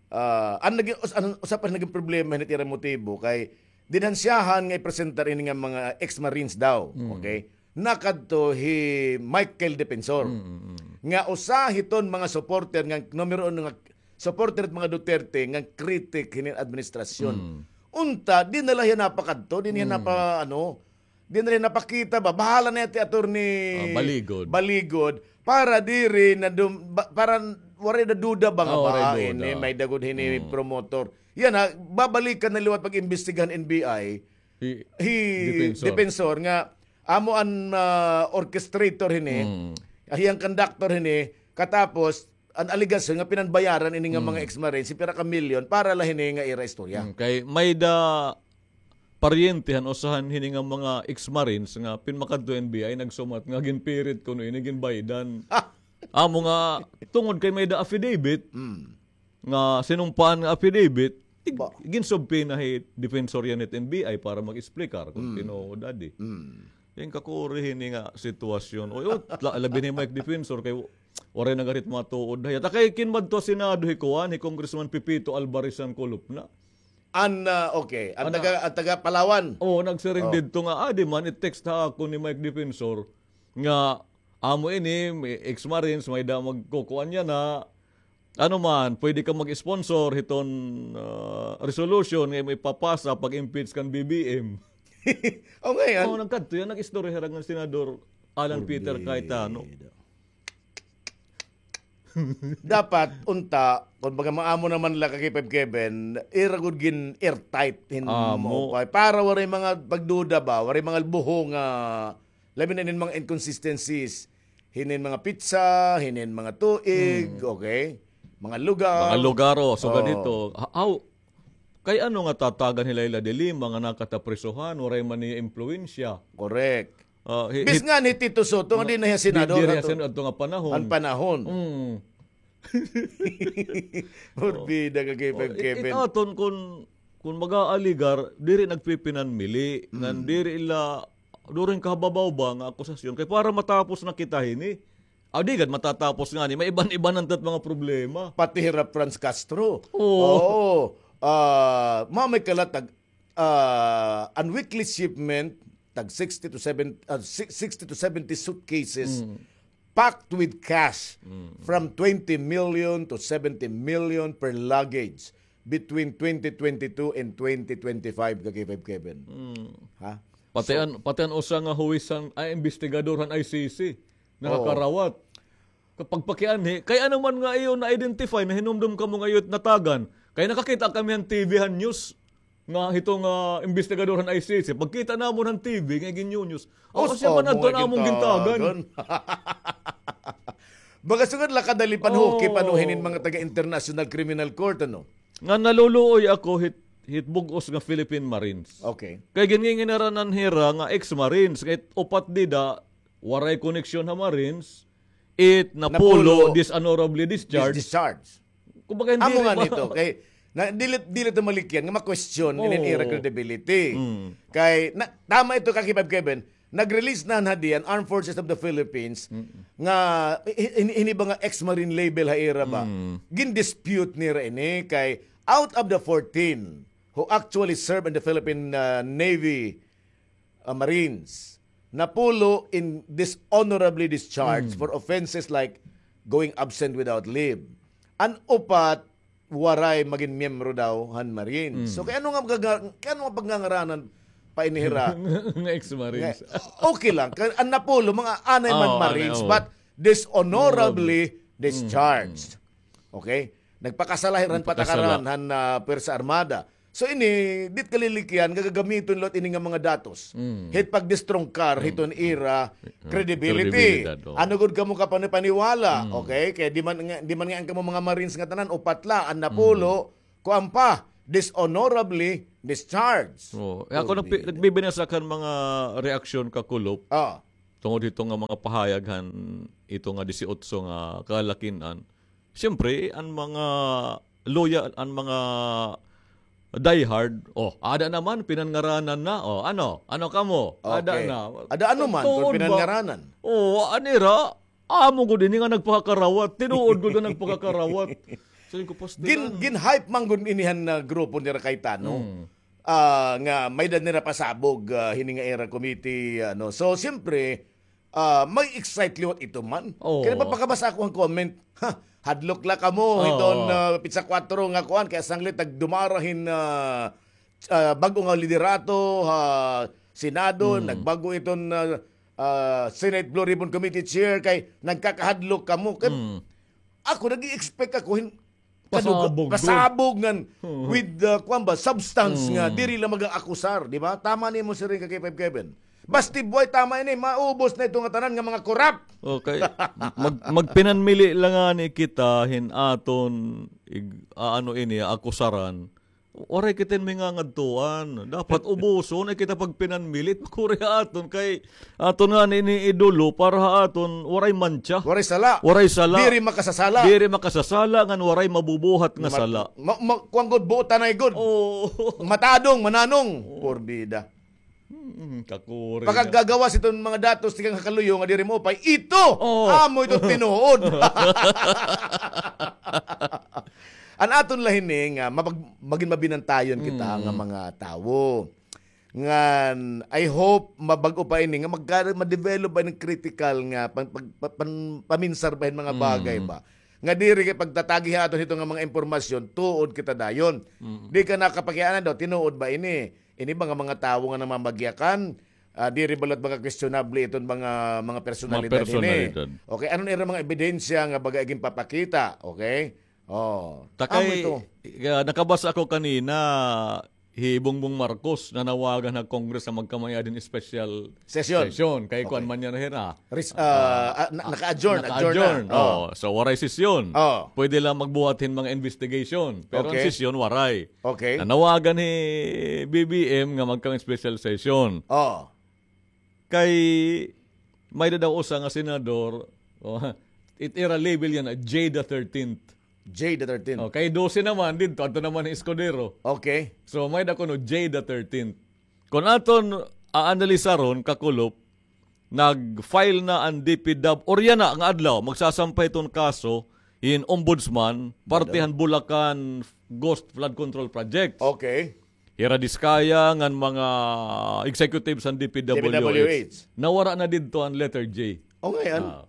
Ah, an naging, us-, an, usa pa naging problema hini it ira motibo kay dinhansyahan nga ipresentar ini nga mga ex-marines daw, okay? Nakadto hi Michael Defensor, nga usa hiton mga supporter nga numero uno nga supporter hit mga Duterte nga kritik hini administrasyon. Unta, di na la hiya napakadto, di na hiya napa, ano, Di na rin napakita ba? Bahala na ti attorney Baligod. Baligod. Para diri na dum-, ba-, para waray na duda ba nga ba, waray duda. Ini, may-ada gud hini promotor. Yana, babalikan na liwat pag-imbestigahan N B I. Hi, hi Defensor. Defensor nga, amo an, ah, orchestrator hini. Hiya an conductor hini. Katapos, an alegasyon nga pinanbayaran ini nga mga ex-marine, si pira ka milyon para la hini nga ira istorya. Kay may-ada paryente han usa han hini nga mga ex-marines nga pinmakadto N B I nagsumat nga ginpirit kuno ini ginbaydan. Amo nga tungod kay may-ada affidavit nga sinumpaan nga affidavit, ig-, ginsubpoena hi Defensor yana hit N B I para mag-explicar kon tinuod adi. Yan kakuri hini nga sitwasyon. Oy, ot, la-, labi ni Mike Defensor kay waray na gad hit matuod. Hayat, kay kinmadto ha Senado hi kuan, hi Congressman Pepito Alvarez han Kulupna. An, ah, okay. An taga, an taga Palawan. Oo, nagsiring didto nga, ah, di man, i-text ha akon ni Mike Defensor nga amo ini, may ex-marines, may-ada magkukuan yana. Ano man, pwede ka mag-sponsor hiton, ah, resolution nga imo ipapasa pag-impeach kan B B M. O, ngay-an. Oo, nagkadto yana, nag-istorya hira ngan Senador Alan Peter Cayetano. Dapat, unta, kon baga maamo naman la ka K five Kevin, ira gud gin-airtight hin maupay. Para waray mga pagduda ba, waray mga buho nga, labi na inin mga inconsistencies, hinin mga petsa, hinin mga tuig, okay? Mga lugar. Mga lugar, o, sugad hito. Ha-, aw, kay ano nga tatagan hi Leila de Lima nga nakataprisohan, waray man niya impluwensya? Correct. Ah, hi-, bis hi-, ngan hi Tito Soto nga di na hiya senador diri ha adto nga panahon. An panahon. Mm. Porbida ka K five Kevin. It aton kon, kon mag-aaligar, diri nagpipinanmili, ngan diri la, during kahababaw ba nga akusasyon. Kay para matapos na kita hini. Aw, di gad matatapos ngani, may iban-iban na tat mga problema. Pati hira Franz Castro. Oo. Oo. Ah, mamay kalatag ah, an weekly shipment, tag sixty to seven, ah, si-, sixty to seventy suitcases packed with cash from twenty million to seventy million per luggage between twenty twenty-two and twenty twenty-five, ka K five Kevin. Ha? Pati an, pati an usa nga huwis han, ay, investigador han I C C, nakakarawat. Kapag pakianhi, kay ano man nga iyo na-identify, nahinumdom kamo nga iyo natagan. Kay nakakita kami han T V han news nga hito nga, ah, investigador han I C C. Pagkita namon han T V nga gin-news. Aw, siya man adto an amon gintagan. Baga sugad la kadali panhuki pa no hinin mga taga International Criminal Court, ano? Nga naluluoy ako hit, hit bug-os nga Philippine Marines. Okay. Kay ginnginginaran hira nga ex-Marines, nga it upat dida, waray koneksyon ha Marines, it napulo, dishonorably discharged. Discharged. Kumbaga, hindi amo nga nito, kay, na, dili, dili to malikyan nga ma-question inin ira credibility. Kay, na, tama ito, ka K five Kevin, nag-release na hadi an Armed Forces of the Philippines nga, hi-, hi-, hini ba nga ex-Marine label ha ira ba? Gin-dispute nira ini kay, out of the fourteen who actually serve in the Philippine, uh, Navy, ah, Marines. Napulo in dishonorably discharged for offenses like going absent without leave. An upat, waray magin miyembro daw han Marines. So, kay ano nga pagga-, kay ano nga pagngangaranan pa ini hira? Nga ex-Marines. Nga, okay lang. Kay an napulo, mga anay man Marines, but dishonorably discharged. Okay? Nagpakasala hira han patakaran han, ah, Pwersa Armada. So ini, di it kalilikyan nga gagamiton liwat ini nga mga datos hit pagdestrungkar hiton ira credibility. Kredibilidad, oo. Ano gud kamo kapanipaniwala, okay? Kay di man nga, di man nga an kamo mga Marines nga tanan, upat la, an napulo, kuan pa, dishonorably discharged. Oo. Eh, ako nagpi-, nagbibinasa kan mga reaksyon, Kakulop. Ah. Tungod hito nga mga pahayag han ito nga disiotso nga kalakin-an. Siyempre, an mga loyal, an mga diehard, "Oh, ada naman, pinanngaranan na. Oh, ano? Ano kamo? Ada na." Ada ano man, kung pinanngaranan. Oh, an ira, amo gud ini nga nagpakakarawat. Tinuod gud nga nagpakakarawat. Sabi ko, "Pastilan." Gin-, gin-hype man gud ini han, ah, grupo nira Cayetano. Ah, nga may-ada nira pasabog, ah, hini nga ira committee, ano. So, siyempre, ah, ma-excite liwat ito man. Oo. Kay nagpapakabasa ako han comment. Ha, hadlok la kamo hiton, ah, pitsa kuwatro nga kuan, kay sanglit nagdumara hin, ah, ah, bag-o nga liderato ha Senado, nagbag-o iton, ah, ah, Senate Blue Ribbon Committee Chair, kay nagkakahadlok kamo. Kay ako, nag-i-expect ako hin-, Pasabog gud. Pasabog ngan with, uh, kuan ba, substance nga diri la mag-aakusar, di ba? Tama ni mo siring ka K five Kevin. Basti buhay, tama ini, maubos na ito nga tanan nga mga korap. Okay. Mag-, magpinanmili la ngani kita hin aton ig-, aano ini, akusaran. Waray kita hin mangangadtuan. Dapat ubuson, ay kita pagpinanmili, makuri ha aton kay aton ngani ini idolo para ha aton waray mantsa. Waray sala. Waray sala. Diri makasasala. Diri makasasala ngan waray mabubuhat nga sala. Ma-, ma-, kuan gud, buotanay gud. Oo. Matadong, mananong. Porbida. Mm, kakuri na. Pagkagagawas iton mga datos tikang ha kaluyo nga diri maupay, ito, amo ito tinuod. An aton la hini nga mapag-, magin mabinantayon kita nga mga tawo. Ngan, I hope, mabag-o pa ini, nga magka-, ma-develop ba ini critical nga pan-, pag-, pa-, pan-, paminsar ba hin mga bagay ba? Nga diri kay pagtatagi ha aton hito nga mga impormasyon, tuod kita dayon. Di ka nakapakiana daw, tinuod ba ini? Ini ba nga mga tawo nga namamagyakan, ah, diri ba liwat mga questionable iton mga, mga personalidad ini? Mga personalidad. Okay, ano na ira mga ebidensya nga baga ginpapakita? Okay? Oh, ta kay, amo ito. Ah, nakabasa ako kanina, hi Bongbong Marcos nanawagan ha Congress nga magkamay-ada hin special session. Kay kuan man yana hira. Res-, ah, ah, na-, naka-adjourn, adjourn na. Naka-adjourn. Oh. So, waray sesyon. Oh. Pwede lang magbuhat hin mga investigation. Pero an sesyon, waray. Okay. Nanawagan hi B B M nga magkamay special session. Oh. Kay may-ada daw usa nga senador, oh, it ira label yana, Jay the thirteenth. Jay the thirteenth. Oh, kay dose naman didto, adto naman hi Escudero. Okay. So, may-ada kuno Jay the thirteenth. Kon aton aanalisaron, Kakulop, nag-file na an D P W, or yana nga adlaw, magsasampay iton kaso hin Ombudsman, parte han Bulacan Ghost Flood Control Project. Okay. Hira Discaya ngan mga executives han D P W H. D P W H. Nawara na didto an letter J. O, ngay-an. Ah.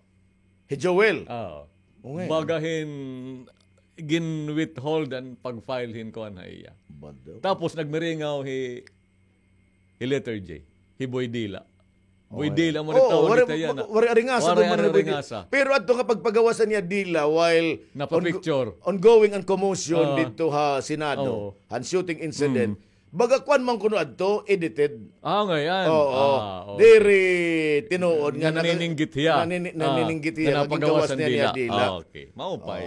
Hi Joel. Ah. O, ngay-an. Baga hin gin-withhold an pag-file hin kuan ha iya. Bado. Tapos nagmiringaw hi, hi letter J. Hi Boy Dila. Boy Dila, amo rin tawag kita yana. Waray aringasa. Waray aringasa. Pero adto nga pagpagawas niya Dila while napapicture, ongoing an commotion didto ha Senado, han shooting incident. Baga kuan man kuno adto, edited. Ah, ngay-an. Oo. Diri tinuod nga nanininggit hiya. Nanininggit hiya. Napagawas niya Dila. Okay. Maupay.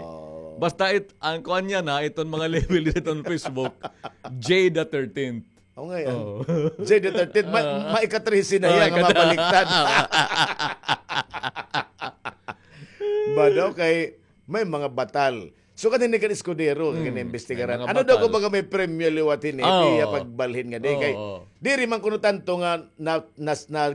Basta it, an kuan niya na, iton mga label didto ha Facebook, Jay the thirteenth. O, ngay-an. Jay the thirteenth, ma-, maika-trese na hiya nga mabaliktad. Bado kay may mga batal. So, kanini kan Escudero, kinimbestigaran. Ano daw kung baga may premyo liwat hini, iya pagbalhin nga di kay diri man kuno tanto nga na, na, na,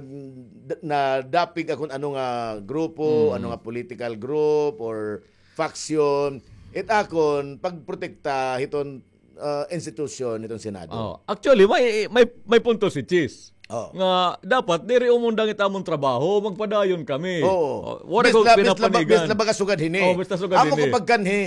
nadapig akon ano nga grupo, ano nga political group or faction. It akon pagprotekta hiton ah, institusyon nitong Senado. Oh, actually, may, may, may punto si Chis. Oh. Nga dapat diri umundang it amon trabaho, magpadayon kami. Oo. Oh, wala ko pinapanigan. Bis la, bis la baga sugad hini. Oh, basta sugad hini. Amo ko pagkanhi,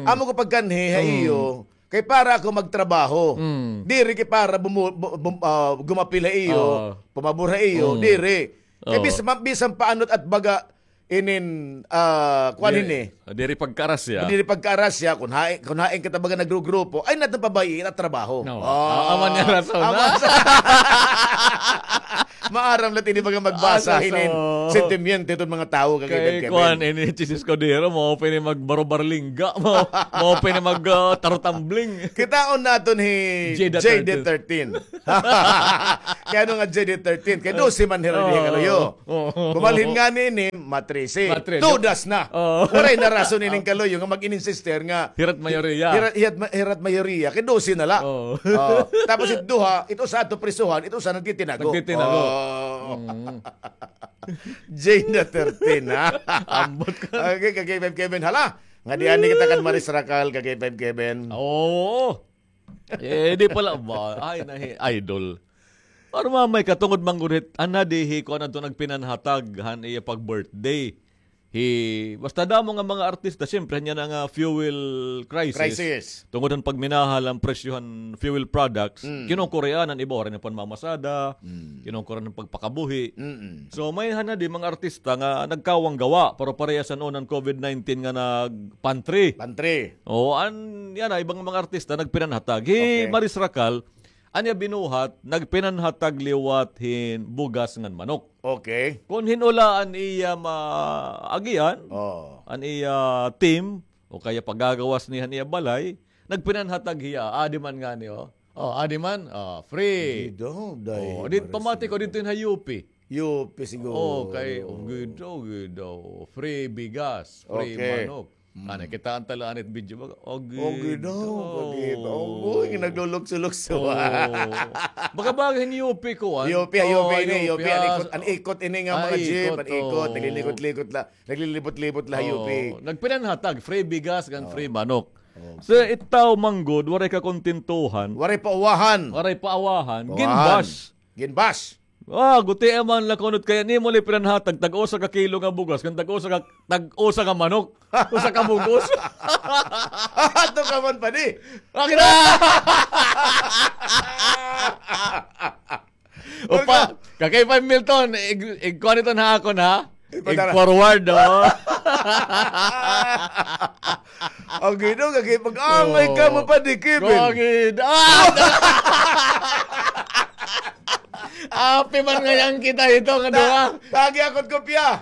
amo ko pagkanhi ha iyo. Kay para ako magtrabaho. Diri kay para bumu-, bu-, bum-, ah, gumapil ha iyo, pamabor ha iyo, diri. Kay bisan, bisan paano it baga inin, ah, kuan hini. Diri pagkaarasya. Diri pagkaarasya, kun hain, kun hain kita baga nagrugrupo, ay naton pabayi-i it trabaho. No. Ah, aman niya rason, ha? Maaram la it ini baga magbasa hinin sentimiento hiton mga tawo, kay kuan, ini Chisis Cordero, mao pa ini magbarobarlingga, mao, mao pa ini mag, ah, tarotambling. Kitaon naton hi J D thirteen. Kay ano nga J D thirteen? Kay dose man hira dinhi kaluyo. Bumalhin ngani ini, matrese. Matrese. Todas na. Waray na rason ining kaluyo nga mag-ininsister nga hira't mayoriya. Hira't, hira't ma-, hira't mayoriya. Kay dose na la. Tapos it duha, it usa adto prisohan, it usa nagtitinago. Nagtitinago. J D thirteen, ha? Ambot ka. Okay, ka K five Kevin. Hala, nga di ani kita kan Maris Racal, ka K five Kevin. Oo. Eh, di pala ba? Ay, nahi, idol. Pero mamay ka, tungod man gud hit, ana di hi, kuan adto nagpinanhatag han iya pag-birthday. Hi, basta damo nga mga artista, siyempre, niya na nga fuel crisis. Crisis. Tungod han pagminahal han presyo han fuel products, kinukurian an iba, waray na panmamasada, kinukurian an pagpakabuhi. So, may hana di mga artista nga nagkawang gawa, pero parehas han unang covid nineteen nga nag-pantry. Pantry. O, an, yana, ibang mga artista nagpinanhatag. Hi Maris Racal, an iya binuhat, nagpinanhatag liwat hin bugas ngan manok. Okay. Kon hin-o la an iya maagian, an iya team, o kaya pagagawas niya han iya balay, nagpinanhatag hiya, adi man ngani, o. O, adi man, o, free. Gidaw, day. O, di, pamati ko didto hin ha U P. U P siguro. O, kay, o, gidaw, gidaw. Free bigas, free manok. Ana, kitaan ta la anit video ba? O, gidaw, o, gidaw. Oy, naglulukso-lukso. Baka bagay hin U P ko, an? U P, U P ini, U P, an ikot, an ikot ini nga mga jeep, an ikot, naglilikot-likot la, naglilibot-libot la, U P. Nagpinanhatag, free bigas, ngan free manok. So, it tawo man gud, waray kakontentuhan. Waray pauwahan. Waray pauwahan. Ginbash. Ginbash. Ah, guti man la kunot kay an imo la ipinanhatag, tag-usa ka kilo nga bugas, ngan tag-usa ka, tag-usa ka manok. Usa ka bug-os. Ato ka man pa di. Akin na! Opa, ka K five Milton, ig-, ig-kuan ito na akon, ha? Ig-forward, o. Ang gino, kaki-, mag-angay ka mo pa di, Kevin. Ang gino. Api man ngayon kita ito, nga duha. Tagi ako't kopya.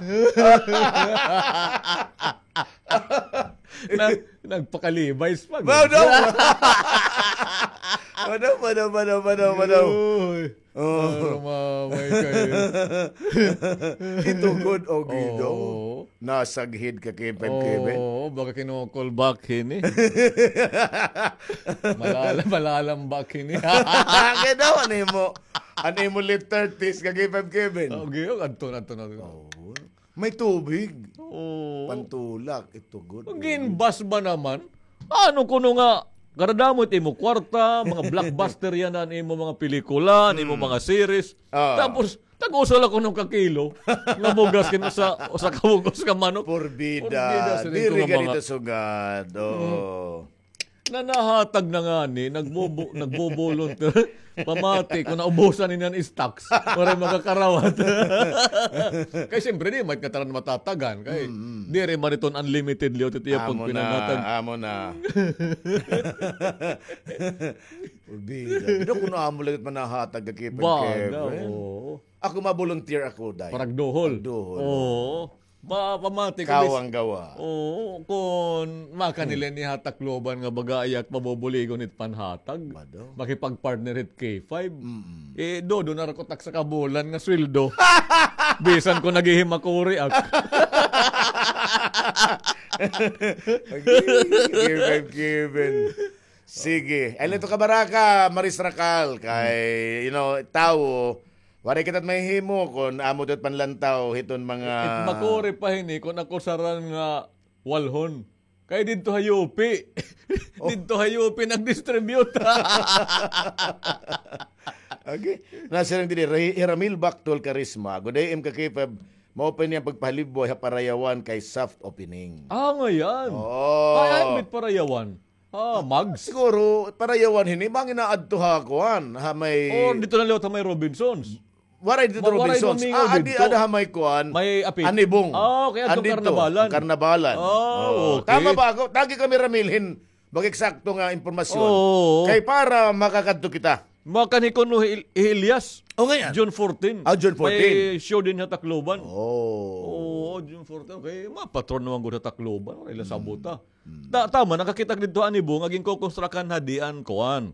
Na, nagpakalibays pa. Madaw. Madaw, madaw, madaw, madaw, madaw. Uy. O. Para mamay kayo. Ito gud, o, gido. Oo. Nasaghid ka, Kevin, Kevin. Oo, baka kinu-call back hini. Malala-, malalambak hini. Kaya daw, ano mo? Ano mo late thirties ka, Kevin, Kevin? O, giyo, adto na, adto na. Oo. May tubig. Oo. Pantulak, ito good. Ginbas ba naman? Ano kuno nga, karadamo it imo kwarta, mga blockbuster yana an imo mga pelikula, an imo mga series. Ah. Tapos, tag-usa la kuno ka kilo nga bugas kin usa, usa ka bug-os ka manok. Porbida. Porbida, diri ka dito sugad. Oo. Na nahatag na ngani, nagbobo-, nagbo-volunteer. Pamati, kung naubusan niyan stocks, waray makakarawat. Kay siyempre, di, may kataran matatagan. Kay, diri man iton unlimited liwat ito iya pagpinanhatag. Amo na, amo na. Porbida. Dito kuno amo lagi manahatag ka, Kevin. Ba, Kevin. Ako ma-volunteer ako, day. Paragduhol. Paragduhol. Oo. Ba, pamati ko, kawang gawa. Oo, kun makanila ni ha Tacloban nga baga ayat mabubuligon it panhatag. Mado. Makipag-partner hit K five. Mm-mm. Eh, dodo na rakotak sa kabulan nga sweldo. Bisan ko naghihimakuri ak. Given, given. Sige. Ay, ito ka baraka, Maris Rakal. Kay, you know, tawo, waray kita mahihimo kun amo ito panlantaw hiton mga... It makuri pa hini kun ako saran nga walhon. Kay didto ha U P. Oh. Didto ha U P nag-distribute. Okay. Nasiring didi, Ray-, Ramil Bactol Karisma, good day, M K K five, mao pa ini an pagpahalibway ha Parayawan kay soft opening. Ah, ngay-an. Oo. Ay, ay, may Parayawan. Ah, Mags. Siguro, Parayawan hini, manginaadto ha kuan, ha may Or dito na liwat ha may Robinsons. Waray dito Wa-, waray Robinsons. Domingo Ah, adi, dito. Ada ha may kuan. May apit. Anibong. Ah, okay, adto Andito, karnabalan. Karnabalan. Ah, Oo. Okay. Tama ba ako? Tagi kami, Ramil, hin mag-eksakto nga impormasyon. Oo. Kay para makakadto kita. Makan hi kuno hi, hi Elias. O, ngay-an. June fourteen. Ah, June fourteen. May show din ha Tacloban. Oh. Oo, June fourteen. Okay, mapatron naman gud ha Tacloban. Wala ila sabota. Hmm. Ta-, tama, nakakita dito ani Bong, aging kokonstrakan ha dian, kuan.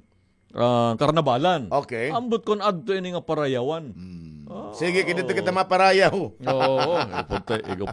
Ah, karnabalan. Okay. Ambot kon adto ini nga parayawan. Hmm. Ah, Sige, kinito oo. kita maparayaw. Oo, ikaw pa, ikaw